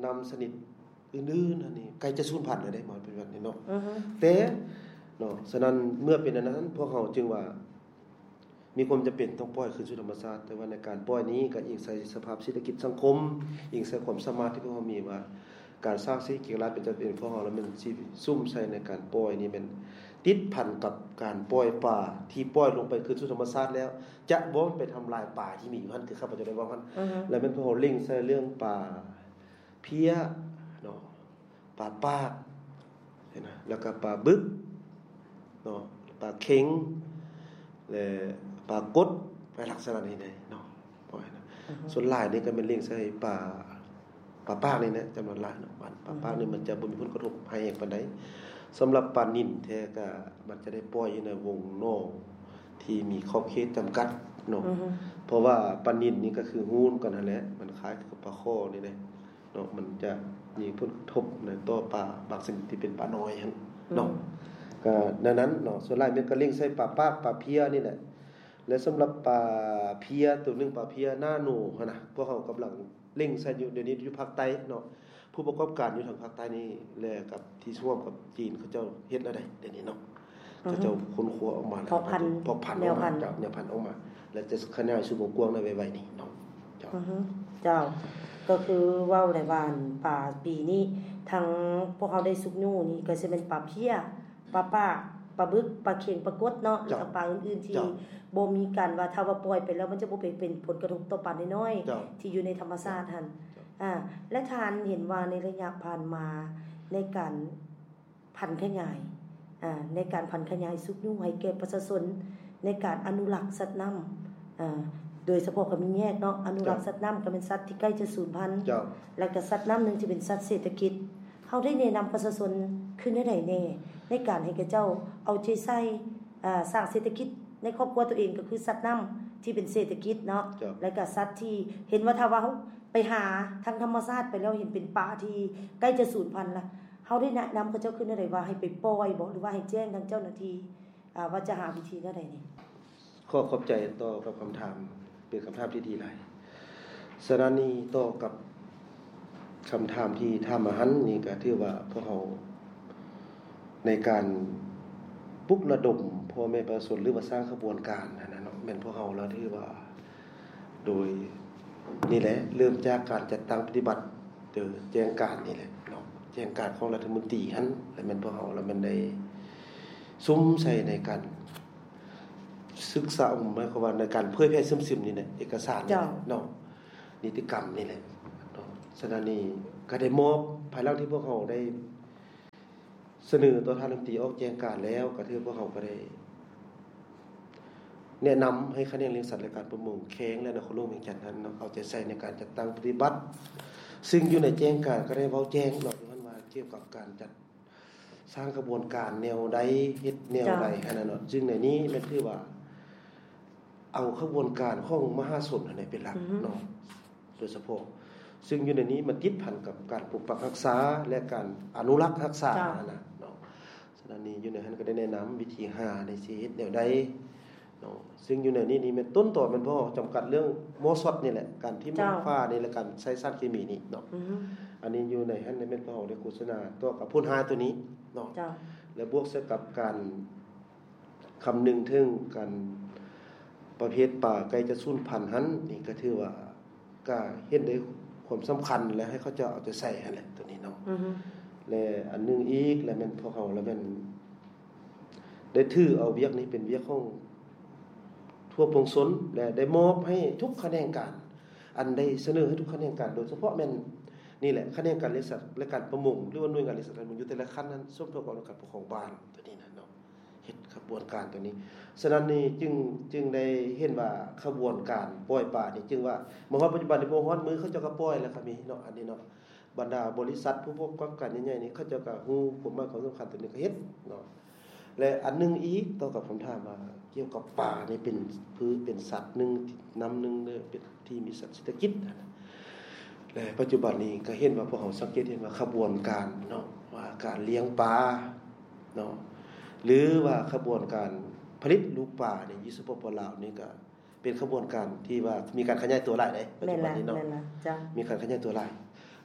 ນ້ຳຊະນິດອື່ນໆ ອັນນີ້ໃກ້ຈະສູນພັນແລ້ວເດ້ ມາປັດຈຸບັນນີ້ເນາະ. ແຕ່ເນາະ ສະນັ້ນເມື່ອເປັນອັນນັ້ນ ພວກເຮົາຈຶ່ງວ່າມີຄວາມຈຳເປັນຕ້ອງປ່ອຍຄືນສູ່ທຳມະຊາດ ແຕ່ວ່າໃນການປ່ອຍນີ້ກໍອີງໃສ່ສະພາບເສດຖະກິດສັງຄົມ ອີງໃສ່ຄວາມສາມາດທີ່ພວກເຮົາມີວ່າ ການສ້າງເສດຖະກິດລາຍໄປຈຳເປັນພວກເຮົາ ແລ້ວແມ່ນຊິສຸມໃສ່ໃນການປ່ອຍນີ້ ແມ່ນຕິດພັນກັບການປ່ອຍປາທີ່ປ່ອຍລົງໄປຄືນສູ່ທຳມະຊາດແລ້ວ ຈະບໍ່ໄປທຳລາຍປາທີ່ມີຢູ່ຫັ້ນ ຄືຂ້າພະເຈົ້າໄດ້ເວົ້າຫັ້ນ ແລ້ວແມ່ນພວກເຮົາເລັ່ງໃສ່ເລື່ອງປາເພຍເນາະ ປາປາກ ເຫັນນະ ແລ້ວກໍປາບຶກເນາະ ປາເຄັງ ແລະ ປາກົດ ໄປລັກສະນະນີ້ເດ້ເນາະ. ສ່ວນຫຼາຍນີ້ກໍແມ່ນເລັ່ງໃສ່ປາ ປາປາກນີ້ແຫຼະ ຈຳນວນຫຼາຍເນາະ. ປາປາກນີ້ມັນຈະບໍ່ມີຜົນກະທົບຮ້າຍແຮງປານໃດ. ສຳລັບປານິນແທ້ກໍມັນຈະໄດ້ປ່ອຍຢູ່ໃນວົງໜອງທີ່ມີຂອບເຂດຈຳກັດເນາະ ເພາະວ່າປານິນນີ້ກໍຄືຮູ້ນຳກັນຫັ້ນແຫຼະ ມັນຄ້າຍກັບປາຄໍ່ນີ້ເດ້ເນາະ ມັນຈະມີຜົນກະທົບໃນຕໍ່ປາບາງຊະນິດທີ່ເປັນປານ້ອຍຫັ້ນເນາະ. ກໍແນວນັ້ນເນາະ ສ່ວນຫຼາຍແມ່ນກໍເລັ່ງໃສ່ປາປາກ ປາເພຍນີ້ແຫຼະ. ແລະ ສຳລັບປາເພຍໂຕໜຶ່ງ ປາເພຍນາໂນຫັ້ນນະ ພວກເຮົາກຳລັງ ເລັ່ງໃສ່ຢູ່ ດຽວນີ້ຢູ່ພາກໃຕ້ເນາະ ຜູ້ປະກອບການຢູ່ທາງພາກໃຕ້ນີ້ ແລະ ກັບທີ່ຮ່ວມກັບຈີນ ເຂົາເຈົ້າເຮັດແນວໃດດຽວນີ້ເນາະ ເຂົາເຈົ້າຄົ້ນຄວ້າອອກມາແລ້ວ ເພາະພັນ ເພາະພັນອອກມາ ເຈົ້າ ແນວພັນອອກມາ ແລະ ຈະຂະຫຍາຍສູ່ວົງກວ້າງໃນໄວໆນີ້ເນາະ. ເຈົ້າ ເຈົ້າ ກໍຄືເວົ້າໄດ້ວ່າ ປາປີນີ້ ທັງພວກເຮົາໄດ້ຊຸກຍູ້ນີ້ ກໍຊິແມ່ນປາເພຍ ປາປາກ ປາບຶກ ປາເຄັງ ປາກົດເນາະ ແລ້ວກໍປາອື່ນໆທີ່ບໍ່ມີການວ່າ ຖ້າວ່າປ່ອຍໄປແລ້ວ ມັນຈະບໍ່ໄປເປັນຜົນກະທົບຕໍ່ປານ້ອຍໆທີ່ຢູ່ໃນທຳມະຊາດຫັ້ນ. ອາ ແລະ ທ່ານເຫັນວ່າໃນໄລຍະຜ່ານມາ ໃນການຜັນຂະຫຍາຍ ອາ ໃນການຜັນຂະຫຍາຍຊຸກຍູ້ໃຫ້ແກ່ປະຊາຊົນ ໃນການອະນຸລັກສັດນ້ຳ ອາ ໂດຍສະເພາະກໍມີແຍກເນາະ ອະນຸລັກສັດນ້ຳ ກໍແມ່ນສັດທີ່ໃກ້ຈະສູນພັນ ແລ້ວກໍສັດນ້ຳໜຶ່ງທີ່ເປັນສັດເສດຖະກິດ ເຮົາໄດ້ແນະນຳປະຊາຊົນຄືແນວໃດແດ່ ໃນການໃຫ້ເຂົາເຈົ້າເອົາໃຈໃສ່ ອາ ສ້າງເສດຖະກິດໃນຄອບຄົວຕົວເອງ ກໍຄືສັດນ້ຳທີ່ເປັນເສດຖະກິດເນາະ ແລ້ວກໍສັດທີ່ເຫັນວ່າ ຖ້າວ່າເຮົາໄປຫາທາງທຳມະຊາດໄປແລ້ວ ເຫັນເປັນປາທີ່ໃກ້ຈະສູນພັນລະ ເຮົາໄດ້ແນະນຳເຂົາເຈົ້າຄືແນວໃດ ວ່າໃຫ້ໄປປ່ອຍບໍ ຫຼືວ່າໃຫ້ແຈ້ງທາງເຈົ້າໜ້າທີ່ ອາ ວ່າຈະຫາວິທີແນວໃດນີ້? ຂໍຂອບໃຈຕໍ່ກັບຄຳຖາມ ເປັນຄຳຖາມທີ່ດີຫຼາຍ. ສະນັ້ນນີ້ ຕໍ່ກັບຄຳຖາມທີ່ຖາມມາຫັ້ນນີ້ ກໍຖືວ່າພວກເຮົາໃນການປຸກລະດົມພໍ່ແມ່ປະຊາຊົນ ຫຼືວ່າສ້າງຂະບວນການຫັ້ນນະເນາະ ແມ່ນພວກເຮົາລະຖືວ່າ ໂດຍນີ້ແຫຼະ ເລີ່ມຈາກການຈັດຕັ້ງປະຕິບັດ ໂດຍແຈ້ງການນີ້ແຫຼະເນາະ ແຈ້ງການຂອງລັດຖະມົນຕີຫັ້ນ ແລະ ແມ່ນພວກເຮົາລະແມ່ນໄດ້ສຸມໃສ່ໃນການ ສຶກສາ ໝາຍຄວາມວ່າໃນການເຜີຍແຜ່ເຊື່ອມຊຶມນີ້ແຫຼະ ເອກະສານນີ້ແຫຼະເນາະ ນິຕິກຳນີ້ແຫຼະເນາະ. ສະນັ້ນນີ້ກໍໄດ້ມອບ ພາຍຫຼັງທີ່ພວກເຮົາໄດ້ສະເໜີຕໍ່ທ່ານລັດຖະມົນຕີອອກແຈ້ງການແລ້ວ ກໍຖືພວກເຮົາກໍໄດ້ແນະນຳໃຫ້ຂະແໜງລ້ຽງສັດ ແລະ ການປະມົງແຂວງ ແລະ ນະຄອນຫຼວງວຽງຈັນຫັ້ນເນາະ ເອົາໃຈໃສ່ໃນການຈັດຕັ້ງປະຕິບັດ ຊຶ່ງຢູ່ໃນແຈ້ງການກໍໄດ້ເວົ້າແຈ້ງເນາະ ຢູ່ຫັ້ນວ່າກ່ຽວກັບການຈັດ ສ້າງຂະບວນການແນວໃດ ເຮັດແນວໃດຫັ້ນນະເນາະ ຊຶ່ງໃນນີ້ແມ່ນຖືວ່າເອົາຂະບວນການຂອງມະຫາຊົນຫັ້ນແຫຼະເປັນຫຼັກເນາະ ໂດຍສະເພາະ ຊຶ່ງຢູ່ໃນນີ້ມັນຕິດພັນກັບການປົກປັກຮັກສາ ແລະ ການອະນຸລັກຮັກສາ ເຈົ້າ ຫັ້ນນະເນາະ. ສະນັ້ນນີ້ຢູ່ໃນຫັ້ນກໍໄດ້ແນະນຳວິທີຫາໄດ້ຊິເຮັດແນວໃດເນາະ, ຊຶ່ງຢູ່ໃນນີ້ນີ້ແມ່ນຕົ້ນຕໍແມ່ນພວກເຮົາຈຳກັດເລື່ອງມໍ່ຊັອດນີ້ແຫຼະ ການຖິ້ມ ເຈົ້າ ນ້ຳຝານີ້ ແລະ ການໃຊ້ສານເຄມີນີ້ເນາະ. ອືຮຶ ອັນນີ້ຢູ່ໃນຫັ້ນແມ່ນພວກເຮົາໄດ້ໂຄສະນາຕໍ່ກັບຜົນຫາໂຕນີ້ເນາະ ເຈົ້າ ແລະ ບວກໃສ່ກັບການ ຄຳນຶງເຖິງການປະເພດປາໃກ້ຈະສູນພັນຫັ້ນ ນີ້ກໍຖືວ່າກໍເຫັນໄດ້ຄວາມສຳຄັນ ແລະ ໃຫ້ເຂົາເຈົ້າເອົາໃຈໃສ່ຫັ້ນແຫຼະ ໂຕນີ້ເນາະ. ອືຮຶ ແລະ ອັນໜຶ່ງອີກ ແລະ ແມ່ນພວກເຮົາ ແລະ ແມ່ນໄດ້ຖືເອົາວຽກນີ້ເປັນວຽກຂອງທົ່ວປວງຊົນ ແລະ ໄດ້ມອບໃຫ້ທຸກຂະແໜງການ ອັນໄດ້ສະເໜີໃຫ້ທຸກຂະແໜງການ ໂດຍສະເພາະແມ່ນນີ້ແຫຼະ ຂະແໜງການລ້ຽງສັດ ແລະ ການປະມົງ ຫຼືວ່າໜ່ວຍງານລ້ຽງສັດ ການປະມົງ ຢູ່ແຕ່ລະຂັ້ນນັ້ນ ສົມທົບກັບອົງການປົກຄອງບ້ານ ໂຕນີ້ນະເນາະ. ເຮັດຂະບວນການຕົວນີ້. ສະນັ້ນນີ້ຈຶ່ງ ຈຶ່ງໄດ້ເຫັນວ່າຂະບວນການປ່ອຍປານີ້ ຈຶ່ງວ່າມາຮອດປັດຈຸບັນນີ້ ບໍ່ຮອດມື້ເຂົາເຈົ້າກໍປ່ອຍແລ້ວກໍມີເນາະ ອັນນີ້ເນາະ. ບັນດາບໍລິສັດຜູ້ປະກອບການໃຫຍ່ໆນີ້ ເຂົາເຈົ້າກໍຮູ້ຄວາມໝາຍຄວາມສຳຄັນຕົວນີ້ ກໍເຮັດເນາະ. ແລະ ອັນໜຶ່ງອີກ ຕໍ່ກັບຄຳຖາມວ່າກ່ຽວກັບປານີ້ ເປັນພືດ ເປັນສັດໜຶ່ງ ນ້ຳໜຶ່ງເດີ ເປັນທີ່ມີສັດເສດຖະກິດ ແລະ ປັດຈຸບັນນີ້ກໍເຫັນວ່າ ພວກເຮົາສັງເກດເຫັນວ່າຂະບວນການເນາະ ວ່າການລ້ຽງປາເນາະ ຫຼືວ່າຂະບວນການຜະລິດລູກປາໃນຢູ່ ສປປ ລາວນີ້ ກໍເປັນຂະບວນການທີ່ວ່າມີການຂະຫຍາຍຕົວຫຼາຍເດ້ ປັດຈຸບັນນີ້ເນາະ ແມ່ນລະ ແມ່ນລະ ເຈົ້າ ມີການຂະຫຍາຍຕົວຫຼາຍ.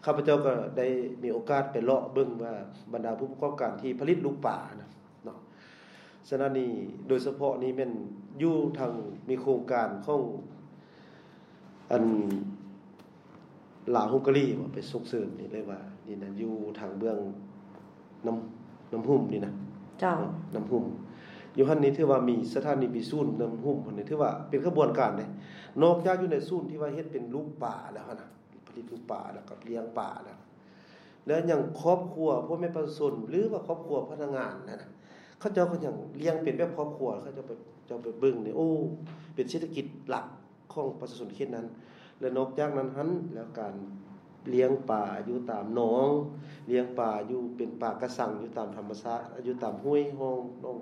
ຂ້າພະເຈົ້າກໍໄດ້ມີໂອກາດໄປເລາະເບິ່ງວ່າ ບັນດາຜູ້ປະກອບການທີ່ຜະລິດລູກປານະເນາະ ສະນັ້ນນີ້ ໂດຍສະເພາະນີ້ແມ່ນຢູ່ທາງ ມີໂຄງການຂອງ ອັນ ລາວ ຮົງກາຣີ ວ່າໄປສົ່ງເສີມນີ້ເລີຍວ່າ ນີ້ນະ ຢູ່ທາງເບື້ອງນ້ຳ ນ້ຳຫຸ້ມນີ້ນະ ເຈົ້າ ນ້ຳຫຸ້ມ ຢູ່ຫັ້ນນີ້ຖືວ່າມີສະຖານີ ມີສູນນ້ຳຫຸ້ມຫັ້ນນີ້ ຖືວ່າເປັນຂະບວນການເດ້. ນອກຈາກຢູ່ໃນສູນທີ່ວ່າເຮັດເປັນລູກປາແລ້ວຫັ້ນນະ ຜະລິດລູກປາ ແລ້ວກໍລ້ຽງປາແລ້ວ ແລ້ວຍັງຄອບຄົວ ພໍ່ແມ່ປະຊາຊົນ ຫຼືວ່າຄອບຄົວພະນັກງານຫັ້ນນະ ເຂົາເຈົ້າກໍຍັງລ້ຽງເປັນແບບຄອບຄົວ ເຂົາເຈົ້າໄປ ເຈົ້າໄປເບິ່ງນີ້ ໂອ້ ເປັນເສດຖະກິດຫຼັກຂອງປະຊາຊົນເຂດນັ້ນ. ແລະ ນອກຈາກນັ້ນຫັ້ນ ແລ້ວການລ້ຽງປາຢູ່ຕາມໜອງ ລ້ຽງປາຢູ່ເປັນປາກະຊັງ ຢູ່ຕາມທຳມະຊາດ ຢູ່ຕາມຫ້ວຍຮ່ອງໜອງ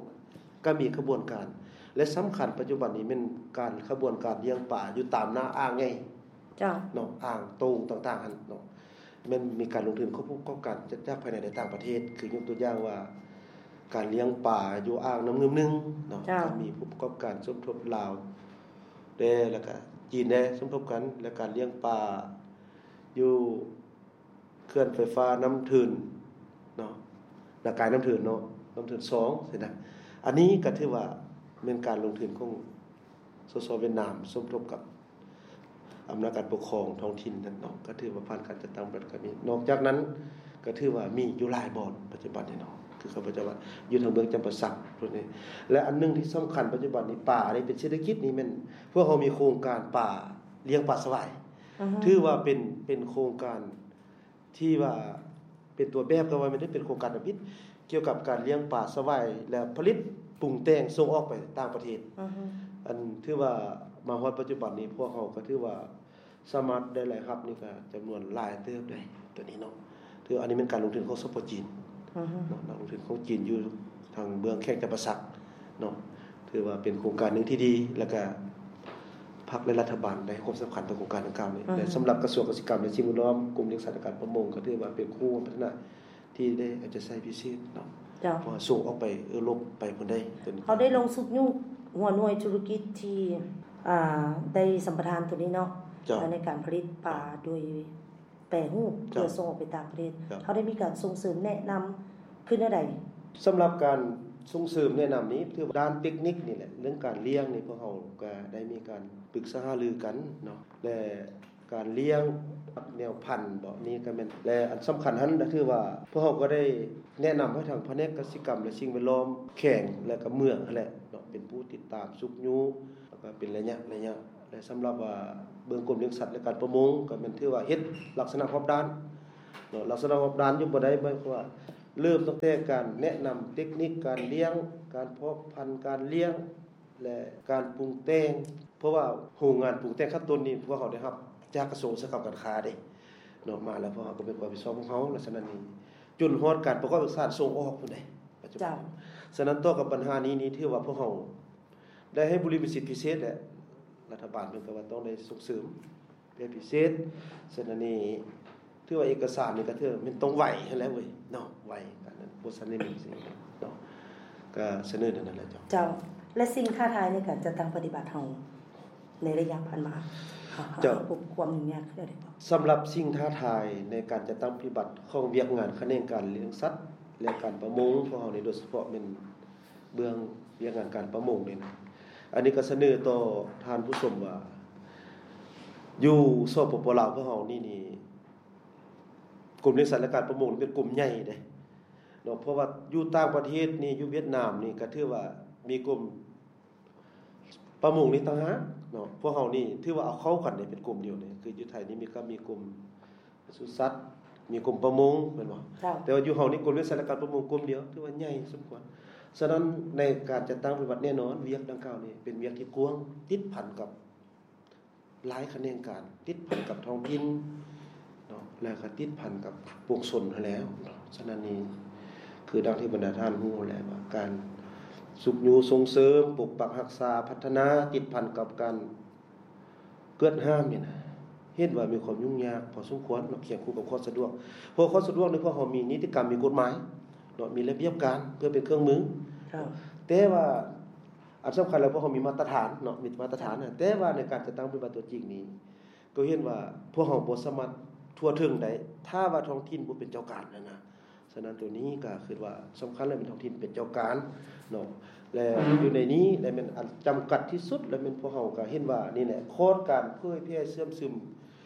ກໍມີຂະບວນການ ແລະ ສຳຄັນປັດຈຸບັນນີ້ແມ່ນການ ຂະບວນການລ້ຽງປາຢູ່ຕາມໜ້າອ່າງໃຫຍ່ ເຈົ້າ ເນາະ ອ່າງໂຕ່ງຕ່າງໆຫັ້ນເນາະ ແມ່ນມີການລົງທຶນຂອງຜູ້ປະກອບການຈາກພາຍໃນ ແລະ ຕ່າງປະເທດ ຄືຍົກຕົວຢ່າງວ່າ ການລ້ຽງປາຢູ່ອ່າງນ້ຳງື່ມໜຶ່ງເນາະ ເຈົ້າ ກໍມີຜູ້ປະກອບການສົມທົບລາວແດ່ ແລ້ວກະຈີນແດ່ສົມທົບກັນ ແລະ ການລ້ຽງປາຢູ່ເຂື່ອນໄຟຟ້ານ້ຳເທີນເນາະ ນາກາຍນ້ຳເທີນເນາະ ນ້ຳເທີນສອງຊີ້ນະ. ອັນນີ້ກໍຖືວ່າແມ່ນການລົງທຶນຂອງ ສສ ຫວຽດນາມ ສົມທົບກັບອຳນາດການປົກຄອງທ້ອງຖິ່ນນັ້ນເນາະ ກໍຖືວ່າຜ່ານການຈັດຕັ້ງແບບການມີ. ນອກຈາກນັ້ນກໍຖືວ່າມີຢູ່ຫຼາຍບ່ອນປັດຈຸບັນນີ້ເນາະ ຄືຂ້າພະເຈົ້າວ່າຢູ່ທາງເມືອງຈຳປາສັກພຸ້ນເດ. ແລະ ອັນໜຶ່ງທີ່ສຳຄັນປັດຈຸບັນນີ້ ປານີ້ເປັນເສດຖະກິດນີ້ແມ່ນ ພວກເຮົາມີໂຄງການປາ ລ້ຽງປາສະຫວາຍ ອືຮຶ ຖືວ່າເປັນ ເປັນໂຄງການ ທີ່ວ່າເປັນຕົວແບບ ກໍວ່າແມ່ນໄດ້ເປັນໂຄງການທຳອິດ ກ່ຽວກັບການລ້ຽງປາສະຫວາຍ ແລະ ຜະລິດປຸງແຕ່ງສົ່ງອອກໄປຕ່າງປະເທດ. ອືຮຶ ອັນຖືວ່າມາຮອດປັດຈຸບັນນີ້ ພວກເຮົາກໍຖືວ່າສາມາດໄດ້ລາຍຮັບນີ້ກໍຈຳນວນຫຼາຍເຕີບເດ້ ຕົວນີ້ເນາະ. ຖືວ່າອັນນີ້ແມ່ນການລົງທຶນຂອງ ສປ ຈີນ ອືຮຶ ເນາະ ນັກລົງທຶນຂອງຈີນຢູ່ທາງເບື້ອງແຂວງຈຳປາສັກເນາະ. ຖືວ່າເປັນໂຄງການໜຶ່ງທີ່ດີ ແລ້ວກະພັກ ແລະ ລັດຖະບານໄດ້ໃຫ້ຄວາມສຳຄັນຕໍ່ໂຄງການດັ່ງກ່າວນີ້ ອືຮຶ ແລະ ສຳລັບກະຊວງກະສິກຳ ແລະ ສິ່ງແວດລ້ອມ ກົມລ້ຽງສັດ ແລະ ການປະມົງ ກໍຖືວ່າເປັນຄູ່ຮ່ວມພັດທະນາທີ່ໄດ້ເອົາໃຈໃສ່ພິເສດເນາະ ເຈົ້າ ເພາະວ່າສົ່ງອອກໄປເອີຣົບ ໄປພຸ້ນໃດ. ເຮົາໄດ້ລົງຊຸກຍູ້ຫົວໜ່ວຍທຸລະກິດທີ່ ອ່າ ໄດ້ສຳປະທານໂຕນີ້ເນາະ ເຈົ້າ ໃນການຜະລິດປາໂດຍ ແປຮູບ ເຈົ້າ ເພື່ອສົ່ງອອກໄປຕ່າງປະເທດ ເຈົ້າ ເຮົາໄດ້ມີການສົ່ງເສີມແນະນຳຄືແນວໃດ? ສຳລັບການສົ່ງເສີມແນະນຳນີ້ ຖືວ່າດ້ານເຕັກນິກນີ້ແຫຼະ ເລື່ອງການລ້ຽງນີ້ ພວກເຮົາກໍໄດ້ມີການປຶກສາຫາລືກັນເນາະ ແລະ ການລ້ຽງແນວພັນເບາະ ນີ້ກໍແມ່ນ ແລະ ອັນສຳຄັນຫັ້ນກໍຄືວ່າ ພວກເຮົາກໍໄດ້ແນະນຳໃຫ້ທາງພະແນກກະສິກຳ ແລະ ສິ່ງແວດລ້ອມແຂວງ ແລະ ກໍເມືອງຫັ້ນແຫຼະເນາະ ເປັນຜູ້ຕິດຕາມຊຸກຍູ້ ແລ້ວກໍເປັນໄລຍະໆ ແລະ ສຳລັບວ່າເບື້ອງກົມລ້ຽງສັດ ແລະ ການປະມົງ ກໍແມ່ນຖືວ່າເຮັດລັກສະນະຮອບດ້ານເນາະ. ລັກສະນະຮອບດ້ານຢູ່ບ່ອນໃດ ໝາຍຄວາມວ່າເລີ່ມຕັ້ງແຕ່ການແນະນຳເຕັກນິກການລ້ຽງ, ການເພາະພັນ, ການລ້ຽງ ແລະ ການປຸງແຕ່ງ ເພາະວ່າໂຮງງານປຸງແຕ່ງຂັ້ນຕົ້ນນີ້ ພວກເຮົາໄດ້ຮັບຈາກກະຊວງອຸດສາຫະກຳການຄ້າເດ້ເນາະ ມາແລ້ວ ພວກເຮົາກໍເປັນຄວາມຮັບຜິດຊອບຂອງເຮົາ ແລະ ສະນັ້ນນີ້ ຈົນຮອດການປະກອບເອກສານສົ່ງອອກພຸ້ນເດ້ ປັດຈຸບັນ. ເຈົ້າ ສະນັ້ນຕໍ່ກັບບັນຫານີ້ນີ້ ຖືວ່າພວກເຮົາ ໄດ້ໃຫ້ບຸລິມະສິດພິເສດ ແລະ ລັດຖະບານເພິ່ນກໍວ່າຕ້ອງໄດ້ສົ່ງເສີມ ແບບພິເສດ. ສະນັ້ນນີ້ ຖືວ່າເອກະສານນີ້ກໍຖືວ່າແມ່ນຕ້ອງໄວຫັ້ນແຫຼະເວີຍເນາະ ໄວ ອັນນັ້ນບໍ່ທັນໄດ້ມີສິ່ງເນາະ ກໍສະເໜີແນວນັ້ນແຫຼະເຈົ້າ. ເຈົ້າ ແລະສິ່ງທ້າທາຍໃນການຈັດຕັ້ງປະຕິບັດເຮົາໃນໄລຍະຜ່ານມາ ເຈົ້າ ເຮົາພົບຄວາມຫຍຸ້ງຍາກແນວໃດບໍ່? ສຳລັບສິ່ງທ້າທາຍໃນການຈັດຕັ້ງປະຕິບັດຂອງວຽກງານຂະແໜງການລ້ຽງສັດ ແລະ ການປະມົງຂອງເຮົານີ້ ໂດຍສະເພາະແມ່ນເບື້ອງວຽກງານການປະມົງນີ້ນະ ອັນນີ້ກໍສະເໜີຕໍ່ທ່ານຜູ້ຊົມວ່າ ຢູ່ ສປປ ລາວ ພວກເຮົານີ້ນີ້ ກົມລ້ຽງສັດ ແລະ ການປະມົງນີ້ເປັນກົມໃຫຍ່ເດ້ເນາະ ເພາະວ່າຢູ່ຕ່າງປະເທດນີ້ ຢູ່ຫວຽດນາມນີ້ ກໍຖືວ່າມີກົມປະມົງນີ້ຕ່າງຫາກເນາະ ພວກເຮົານີ້ຖືວ່າເອົາເຂົ້າກັນເດ້ ເປັນກົມດຽວນີ້ ຄືຢູ່ໄທນີ້ມີ ກໍມີກົມປະສຸສັດ ມີກົມປະມົງ ແມ່ນບໍ່? ເຈົ້າ ແຕ່ວ່າຢູ່ເຮົານີ້ ກົມລ້ຽງສັດ ແລະ ການປະມົງ ກົມດຽວ ຖືວ່າໃຫຍ່ສົມຄວນ. ສະນັ້ນໃນການຈັດຕັ້ງປະຕິບັດ ແນ່ນອນ ວຽກດັ່ງກ່າວນີ້ເປັນວຽກທີ່ກວ້າງ ຕິດພັນກັບ ຫຼາຍຂະແໜງການ ຕິດພັນກັບທ້ອງຖິ່ນເນາະ ແລ້ວກໍຕິດພັນກັບປວງຊົນຫັ້ນແຫຼະເນາະ. ສະນັ້ນນີ້ ຄືດັ່ງທີ່ບັນດາທ່ານຮູ້ແຫຼະວ່າ ການຊຸກຍູ້ສົ່ງເສີມ ປົກປັກຮັກສາ ພັດທະນາ ຕິດພັນກັບການກວດຫ້າມນີ້ນະ ເຫັນວ່າມີຄວາມຫຍຸ້ງຍາກພໍສົມຄວນເນາະ ຄຽງຄູ່ກັບຄວາມສະດວກ. ເພາະຄວາມສະດວກນີ້ ພວກເຮົາມີນິຕິກຳ ມີກົດໝາຍເນາະ ມີລະບຽບການເພື່ອເປັນເຄື່ອງມື ເຈົ້າ ແຕ່ວ່າ ອັນສຳຄັນແລ້ວ ພວກເຮົາມີມາດຕະຖານເນາະ ມີມາດຕະຖານນະ ແຕ່ວ່າໃນການຈັດຕັ້ງປະຕິບັດຕົວຈິງນີ້ ກໍເຫັນວ່າພວກເຮົາບໍ່ສາມາດທົ່ວເຖິງໄດ້ ຖ້າວ່າທ້ອງຖິ່ນບໍ່ເປັນເຈົ້າການຫັ້ນນະ. ສະນັ້ນໂຕນີ້ກໍຄິດວ່າສຳຄັນແລ້ວ ແມ່ນທ້ອງຖິ່ນເປັນເຈົ້າການເນາະ ແລະ ຢູ່ໃນນີ້ ແລະ ແມ່ນອັນຈຳກັດທີ່ສຸດ ແລະ ແມ່ນພວກເຮົາກໍເຫັນວ່ານີ້ແຫຼະ ຂອດການເຜີຍແຜ່ເຊື່ອມຊຶມ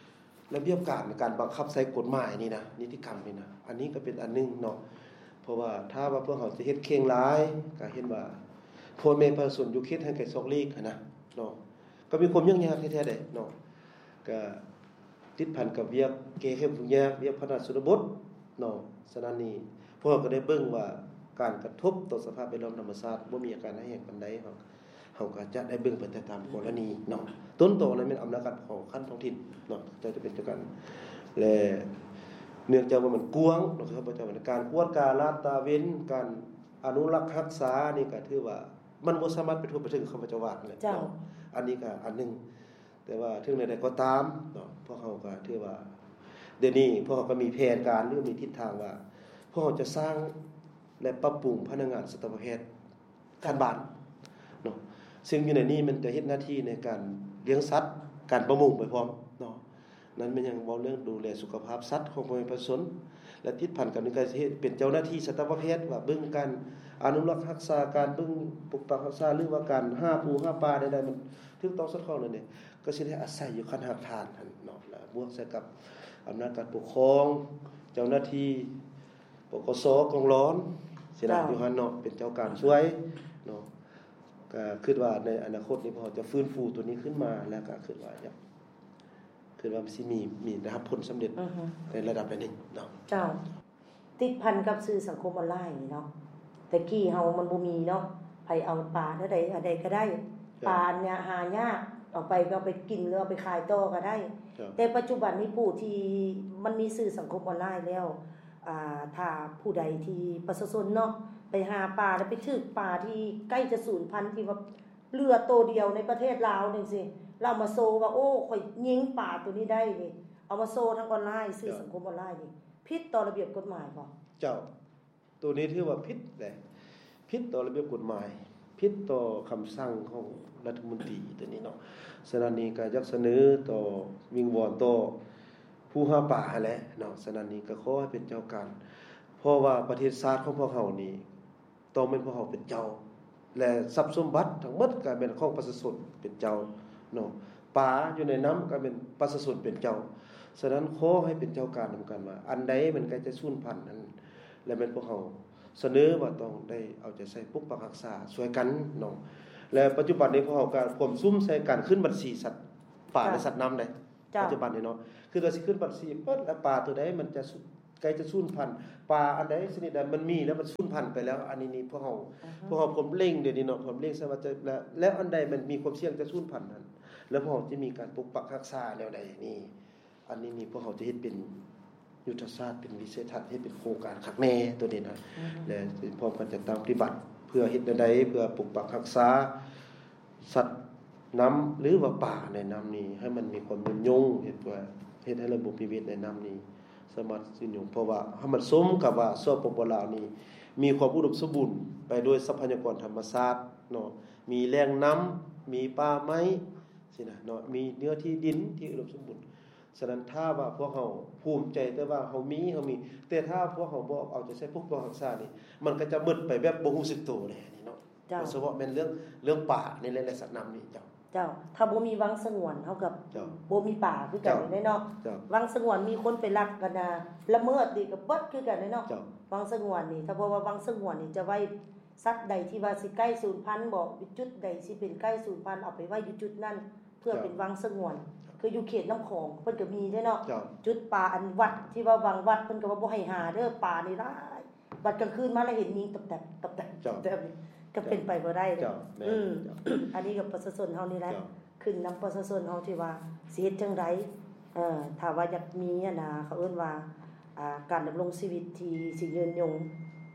ລະບຽບການ ການບັງຄັບໃຊ້ກົດໝາຍນີ້ນະ ນິຕິກຳນີ້ນະ ອັນນີ້ກໍເປັນອັນໜຶ່ງເນາະ. ເພາະວ່າຖ້າວ່າພວກເຮົາຈະເຮັດເຄັ່ງຫຼາຍ ກໍເຫັນວ່າພໍ່ແມ່ປະຊາຊົນຢູ່ເຂດຫ່າງໄກສອກຫຼີກຫັ້ນນະເນາະ ກໍມີຄວາມຫຍຸ້ງຍາກແທ້ໆເດ້ເນາະ. ກໍຕິດພັນກັບວຽກແກ້ໄຂທຸກຍາກ ວຽກພັດທະນາຊົນນະບົດເນາະ. ສະນັ້ນນີ້ ພວກເຮົາກໍໄດ້ເບິ່ງວ່າການກະທົບຕໍ່ສະພາບແວດລ້ອມທຳມະຊາດບໍ່ມີອາການຮ້າຍແຮງປານໃດ ເຮົາ ເຮົາກໍຈະໄດ້ເບິ່ງໄປແຕ່ຕາມກໍລະນີເນາະ. ຕົ້ນຕໍນັ້ນແມ່ນອຳນາດການປົກຄອງຂັ້ນທ້ອງຖິ່ນເນາະ ເຈົ້າຈະເປັນເຈົ້າການ ແລະ ເນື່ອງຈາກວ່າມັນກວ້າງເນາະ ຂ້າພະເຈົ້າວ່າ ການກວດກາລາດຕາເວັນ ການອະນຸລັກຮັກສານີ້ ກໍຖືວ່າມັນບໍ່ສາມາດໄປທົ່ວໄປເຖິງ ຂ້າພະເຈົ້າວ່າຫັ້ນແຫຼະ ເຈົ້າ ເນາະ. ອັນນີ້ກໍອັນໜຶ່ງ ແຕ່ວ່າເຖິງແນວໃດກໍຕາມເນາະ ພວກເຮົາກໍຖືວ່າ ດຽວນີ້ພວກເຮົາກໍມີແຜນການ ຫຼື ມີທິດທາງວ່າ ພວກເຮົາຈະສ້າງ ແລະ ປັບປຸງພະນັກງານສັດຕະວະແພດ ຂັ້ນບ້ານເນາະ ເຊິ່ງຢູ່ໃນນີ້ມັນຈະເຮັດໜ້າທີ່ໃນການລ້ຽງສັດ ການປະມົງໄປພ້ອມເນາະ. ນັ້ນແມ່ນຫຍັງ ເວົ້າເລື່ອງດູແລສຸຂະພາບສັດຂອງພໍ່ແມ່ປະຊາຊົນ ແລະ ຕິດພັນກັນນີ້ ກໍຊິເຮັດເປັນເຈົ້າໜ້າທີ່ສັດຕະວະແພດ ວ່າເບິ່ງການອະນຸລັກຮັກສາ ການເບິ່ງປົກປັກຮັກສາ ຫຼືວ່າການຫາປູຫາປາໃດໆ ມັນຖືກຕ້ອງສອດຄ່ອງນັ້ນເດ ກໍຊິໄດ້ອາໄສຢູ່ຂັ້ນຮາກຖານຫັ້ນເນາະ ແລະ ບວກໃສ່ກັບອຳນາດການປົກຄອງ ເຈົ້າໜ້າທີ່ ປກສ ກອງຫຼອນ ຊິນະ ເຈົ້າ ຢູ່ຫັ້ນເນາະ ເປັນເຈົ້າການຊ່ວຍເນາະ. ກໍຄິດວ່າໃນອະນາຄົດນີ້ ພວກເຮົາຈະຟື້ນຟູໂຕນີ້ຂຶ້ນມາ ແລ້ວກໍຄິດວ່າຢາກ ຄິດວ່າມັນຊິມີ ມີໄດ້ຮັບຜົນສຳເລັດ ອືຮຶ ໃນລະດັບໃດໜຶ່ງເນາະ. ເຈົ້າ ຕິດພັນກັບສື່ສັງຄົມອອນລາຍນີ້ເນາະ ແຕ່ກີ້ເຮົາມັນບໍ່ມີເນາະ ໃຜເອົາປາແນວໃດ ອັນໃດກໍໄດ້ ເຈົ້າ ປາອັນເນີ້ຍຫາຍາກ ເອົາໄປກໍເອົາໄປກິນ ຫຼື ເອົາໄປຂາຍຕໍ່ກໍໄດ້ ເຈົ້າ ແຕ່ປັດຈຸບັນນີ້ຜູ້ທີ່ມັນມີສື່ສັງຄົມອອນລາຍແລ້ວ ອ່າ ຖ້າຜູ້ໃດທີ່ປະຊາຊົນເນາະ ໄປຫາປາ ແລ້ວໄປຖືກປາທີ່ໃກ້ຈະສູນພັນ ທີ່ວ່າເຫຼືອໂຕດຽວໃນປະເທດລາວຈັ່ງຊີ້ ແລ້ວເອົາມາໂຊວ່າ ໂອ້ ຂ້ອຍຍິງປາໂຕນີ້ໄດ້ນີ້ ເອົາມາໂຊທາງອອນລາຍ ສື່ສັງຄົມອອນລາຍນີ້ ຜິດຕໍ່ລະບຽບກົດໝາຍບໍ່? ເຈົ້າ ໂຕນີ້ຖືວ່າຜິດເດ້ ຜິດຕໍ່ລະບຽບກົດໝາຍ ຜິດຕໍ່ຄຳສັ່ງຂອງລັດຖະມົນຕີໂຕນີ້ເນາະ. ສະນັ້ນນີ້ກໍຢາກສະເໜີຕໍ່ ວິງວອນຕໍ່ຜູ້ຫາປາຫັ້ນແຫຼະເນາະ. ສະນັ້ນນີ້ກໍຂໍໃຫ້ເປັນເຈົ້າການ ເພາະວ່າປະເທດຊາດຂອງພວກເຮົານີ້ ຕ້ອງແມ່ນພວກເຮົາເປັນເຈົ້າ ແລະ ຊັບສົມບັດທັງໝົດກໍແມ່ນຂອງປະຊາຊົນເປັນເຈົ້າເນາະ ປາຢູ່ໃນນ້ຳກໍແມ່ນປະຊາຊົນເປັນເຈົ້າ. ສະນັ້ນ ຂໍໃຫ້ເປັນເຈົ້າການນຳກັນວ່າ ອັນໃດມັນໃກ້ຈະສູນພັນນັ້ນ ແລະ ແມ່ນພວກເຮົາສະເໜີວ່າຕ້ອງໄດ້ເອົາໃຈໃສ່ປົກປັກຮັກສາຊ່ວຍກັນເນາະ. ແລະ ປັດຈຸບັນນີ້ພວກເຮົາກໍກວມສຸມໃສ່ການຂຶ້ນບັນຊີສັດປ່າ ເຈົ້າ ແລະ ສັດນ້ຳໄດ໋ ເຈົ້າ ປັດຈຸບັນນີ້ເນາະ ຄືວ່າຊິຂຶ້ນບັນຊີເບິດ ແລະ ປາໂຕໃດມັນຈະ ໃກ້ຈະສູນພັນ ປາອັນໃດຊະນິດໃດມັນມີແລ້ວ ມັນສູນພັນໄປແລ້ວ ອັນນີ້ນີ້ພວກເຮົາ ອືຮຶ ພວກເຮົາພວມເລັ່ງດຽວນີ້ເນາະ ພວມເລັ່ງໃສ່ວ່າຈະ ແລ້ວ ແລ້ວອັນໃດມັນມີຄວາມສ່ຽງຈະສູນພັນຫັ້ນ ແລ້ວພວກເຮົາຈະມີການປົກປັກຮັກສາແນວໃດນີ້ ອັນນີ້ນີ້ພວກເຮົາຈະເຮັດເປັນຍຸດທະສາດ ເປັນວິໄສທັດ ເຮັດເປັນໂຄງການຄັກແນ່ໂຕນີ້ນະ ອືຮຶ ແລະ ພ້ອມກັນຈັດຕັ້ງປະຕິບັດ ເພື່ອເຮັດແນວໃດ ເພື່ອປົກປັກຮັກສາ ສັດ ນ້ຳ ຫຼືວ່າປາໃນນ້ຳນີ້ ໃຫ້ມັນມີຄວາມຍືນຍົງ ເຮັດວ່າ ເຮັດໃຫ້ລະບົບນິເວດໃນນ້ຳນີ້ສາມາດຍືນຍົງ ເພາະວ່າໃຫ້ມັນສົມກັບວ່າ ສປປ ລາວນີ້ມີຄວາມອຸດົມສົມບູນໄປດ້ວຍຊັບພະຍາກອນທຳມະຊາດເນາະ ມີແຫຼ່ງນ້ຳ ມີປ່າໄມ້ຊີ້ນະເນາະ ມີເນື້ອທີ່ດິນທີ່ອຸດົມສົມບູນ. ສະນັ້ນ ຖ້າວ່າພວກເຮົາພູມໃຈແຕ່ວ່າເຮົາມີ ເຮົາມີ ແຕ່ຖ້າພວກເຮົາບໍ່ເອົາໃຈໃສ່ປົກປ້ອງຮັກສານີ້ ມັນກໍຈະໝົດໄປແບບບໍ່ຮູ້ສຶກໂຕແດ່ນີ້ເນາະ. ເຈົ້າ ໂດຍສະເພາະແມ່ນເລື່ອງ ເລື່ອງປານີ້ແຫຼະ ແລະ ສັດນ້ຳນີ້. ເຈົ້າ ເຈົ້າ ຖ້າບໍ່ມີວັງສະຫງວນ ເຮົາກໍ ເຈົ້າ ບໍ່ມີປາຄືກັນ ເຈົ້າ ເດ້ເນາະ. ເຈົ້າ ວັງສະຫງວນມີຄົນໄປລັກກັນນະ ລະເມີດນີ້ກໍເບິດຄືກັນເດ້ເນາະ. ເຈົ້າ ວັງສະຫງວນນີ້ ຖ້າເວົ້າວ່າວັງສະຫງວນນີ້ຈະໄວ້ ສັດໃດທີ່ວ່າຊິໃກ້ສູນພັນບໍ ຈຸດໃດຊິເປັນໃກ້ສູນພັນ ເອົາໄປໄວ້ຢູ່ຈຸດນັ້ນ ເພື່ອ ເຈົ້າ ເປັນວັງສະຫງວນ. ຄືຢູ່ເຂດນ້ຳຂອງເພິ່ນກໍມີເດ້ເນາະ. ເຈົ້າ ຈຸດປາ ອັນວັດທີ່ວ່າວັງວັດ ເພິ່ນກໍວ່າບໍ່ໃຫ້ຫາເດີ ປານີ້ຫຼາຍ. ບັດກາງຄືນມາແລ້ວເຫັນຍິງຕັບແຕັບ ຕັບແຕັບ ເຈົ້າ ຕັບແຕັບ ກໍເປັນໄປບໍ່ໄດ້ເດ້. ເຈົ້າ ແມ່ນ ອືມ ເຈົ້າ ອັນນີ້ກໍປະຊາຊົນເຮົານີ້ແຫຼະ ເຈົ້າ ຂຶ້ນນຳປະຊາຊົນເຮົາທີ່ວ່າຊິເຮັດຈັ່ງໃດ ເອີ ຖ້າວ່າຢາກມີ ອັນນ່າ ເຂົາເອີ້ນວ່າ ອ່າ ການດຳລົງຊີວິດທີ່ຊິຍືນຍົງ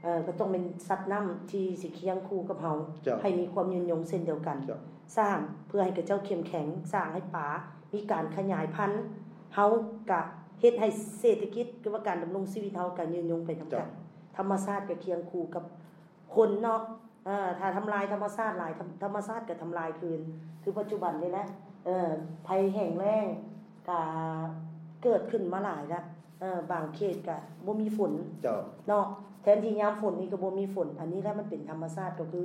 ເອີ ກໍຕ້ອງແມ່ນສັດນ້ຳທີ່ຊິຄຽງຄູ່ກັບເຮົາ ເຈົ້າ ໃຫ້ມີຄວາມຍືນຍົງເຊັ່ນດຽວກັນ. ເຈົ້າ ສ້າງເພື່ອໃຫ້ຂະເຈົ້າເຂັ້ມແຂງ ສ້າງໃຫ້ປາມີການຂະຫຍາຍພັນ ເຮົາກະເຮັດໃຫ້ເສດຖະກິດ ຫຼືວ່າການດຳລົງຊີວິດເຮົາກະຍືນຍົງໄປນຳກັນ. ເຈົ້າ ທຳມະຊາດກະຄຽງຄູ່ກັບຄົນເນາະ. ເອີ ຖ້າທຳລາຍທຳມະຊາດຫຼາຍ ທຳ ທຳມະຊາດກໍທຳລາຍຄືນ. ຄືປັດຈຸບັນນີ້ແຫຼະ ເອີ ໄພແຫ້ງແລ້ງກໍເກີດຂຶ້ນມາຫຼາຍລະ. ເອີ ບາງເຂດກໍບໍ່ມີຝົນ ເຈົ້າ ເນາະ ແທນທີ່ຍາມຝົນນີ້ກໍບໍ່ມີຝົນ. ອັນນີ້ລະມັນເປັນທຳມະຊາດ ກໍຄື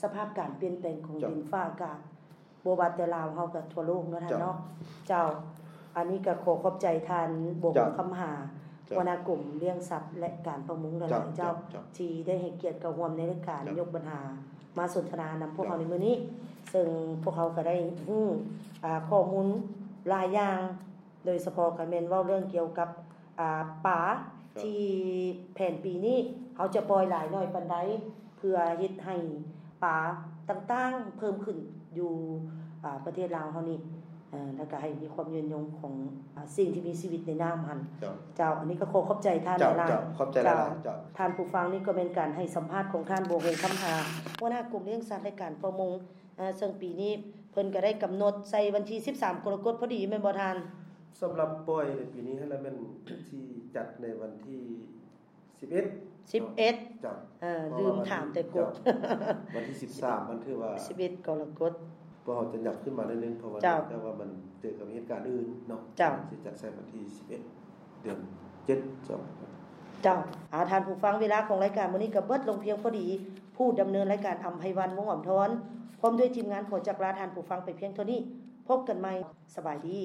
ສະພາບການປ່ຽນແປງຂອງ ເຈົ້າ ດິນຟ້າອາກາດ ບໍ່ວ່າແຕ່ລາວເຮົາກໍທົ່ວໂລກເນາະທ່ານເນາະ. ເຈົ້າ ເຈົ້າ ອັນນີ້ກໍຂໍຂອບໃຈທ່ານ ບົວ ເຈົ້າ ຄຳຫາ ເຈົ້າ ຫົວໜ້າກົມລ້ຽງສັດ ແລະ ການປະມົງຫຼາຍໆ ເຈົ້າ ເຈົ້າ ເຈົ້າ ເຈົ້າ ທີ່ໄດ້ໃຫ້ກຽດເຂົ້າຮ່ວມໃນລາຍການ ເຈົ້າ ຍົກບັນຫາມາສົນທະນານຳພວກເຮົາ ເຈົ້າ ໃນມື້ນີ້ ເຊິ່ງພວກເຮົາກໍໄດ້ຮູ້ ອ່າ ຂໍ້ມູນຫຼາຍຢ່າງ ໂດຍສະເພາະກໍແມ່ນເວົ້າເລື່ອງກ່ຽວກັບ ອ່າ ປາ ເຈົ້າ ທີ່ແຜນປີນີ້ເຮົາຈະປ່ອຍຫຼາຍໜ້ອຍປານໃດ ເພື່ອເຮັດໃຫ້ປາຕ່າງໆເພີ່ມຂຶ້ນຢູ່ ອ່າ ປະເທດລາວເຮົານີ້ ເອີ ແລ້ວກໍໃຫ້ມີຄວາມຍືນຍົງຂອງ ອ່າ ສິ່ງທີ່ມີຊີວິດໃນນ້ຳຫັ້ນ. ເຈົ້າ ເຈົ້າ ອັນນີ້ກໍຂໍຂອບໃຈທ່ານ ເຈົ້າ ຫຼາຍໆ ເຈົ້າ ຂອບໃຈຫຼາຍໆ ເຈົ້າ ເຈົ້າ. ທ່ານຜູ້ຟັງ ນີ້ກໍແມ່ນການໃຫ້ສຳພາດຂອງທ່ານ ບົວ ຫົງຄຳຫາ ຫົວໜ້າກົມລ້ຽງສັດ ແລະ ການປະມົງ ເອີ ເຊິ່ງປີນີ້ເພິ່ນກໍໄດ້ກຳນົດໃສ່ວັນທີສິບສາມ ກໍລະກົດ ພໍດີແມ່ນບໍ່ທ່ານ? ສຳລັບປ່ອຍໃນປີນີ້ຫັ້ນລະແມ່ນຊິຈັດໃນວັນທີສິບເອັດ ສິບເອັດ ເຈົ້າ ເອີ ລືມຖາມແຕ່ກົດ ເຈົ້າ ວັນທີສິບສາມມັນຖືວ່າສິບເອັດ ກໍລະກົດ ພວກເຮົາຈະຫຍັບຂຶ້ນມາໜ້ອຍໜຶ່ງ ເພາະວ່າ ເຈົ້າ ເນື່ອງຈາກວ່າມັນເຈີກັບເຫດການອື່ນເນາະ. ເຈົ້າ ຊິຈັດໃສ່ວັນທີສິບເອັດ ເດືອນເຈັດ ເຈົ້າ. ເຈົ້າ ອາ ທ່ານຜູ້ຟັງ ເວລາຂອງລາຍການມື້ນີ້ກໍເບິດລົງພຽງພໍດີ. ຜູ້ດຳເນີນລາຍການ ອຳໄພວັນ ວົງອຳທອນ ພ້ອມດ້ວຍທີມງານ ຂໍຈັກລາທ່ານຜູ້ຟັງໄປພຽງເທົ່ານີ້. ພົບກັນໃໝ່. ສະບາຍດີ.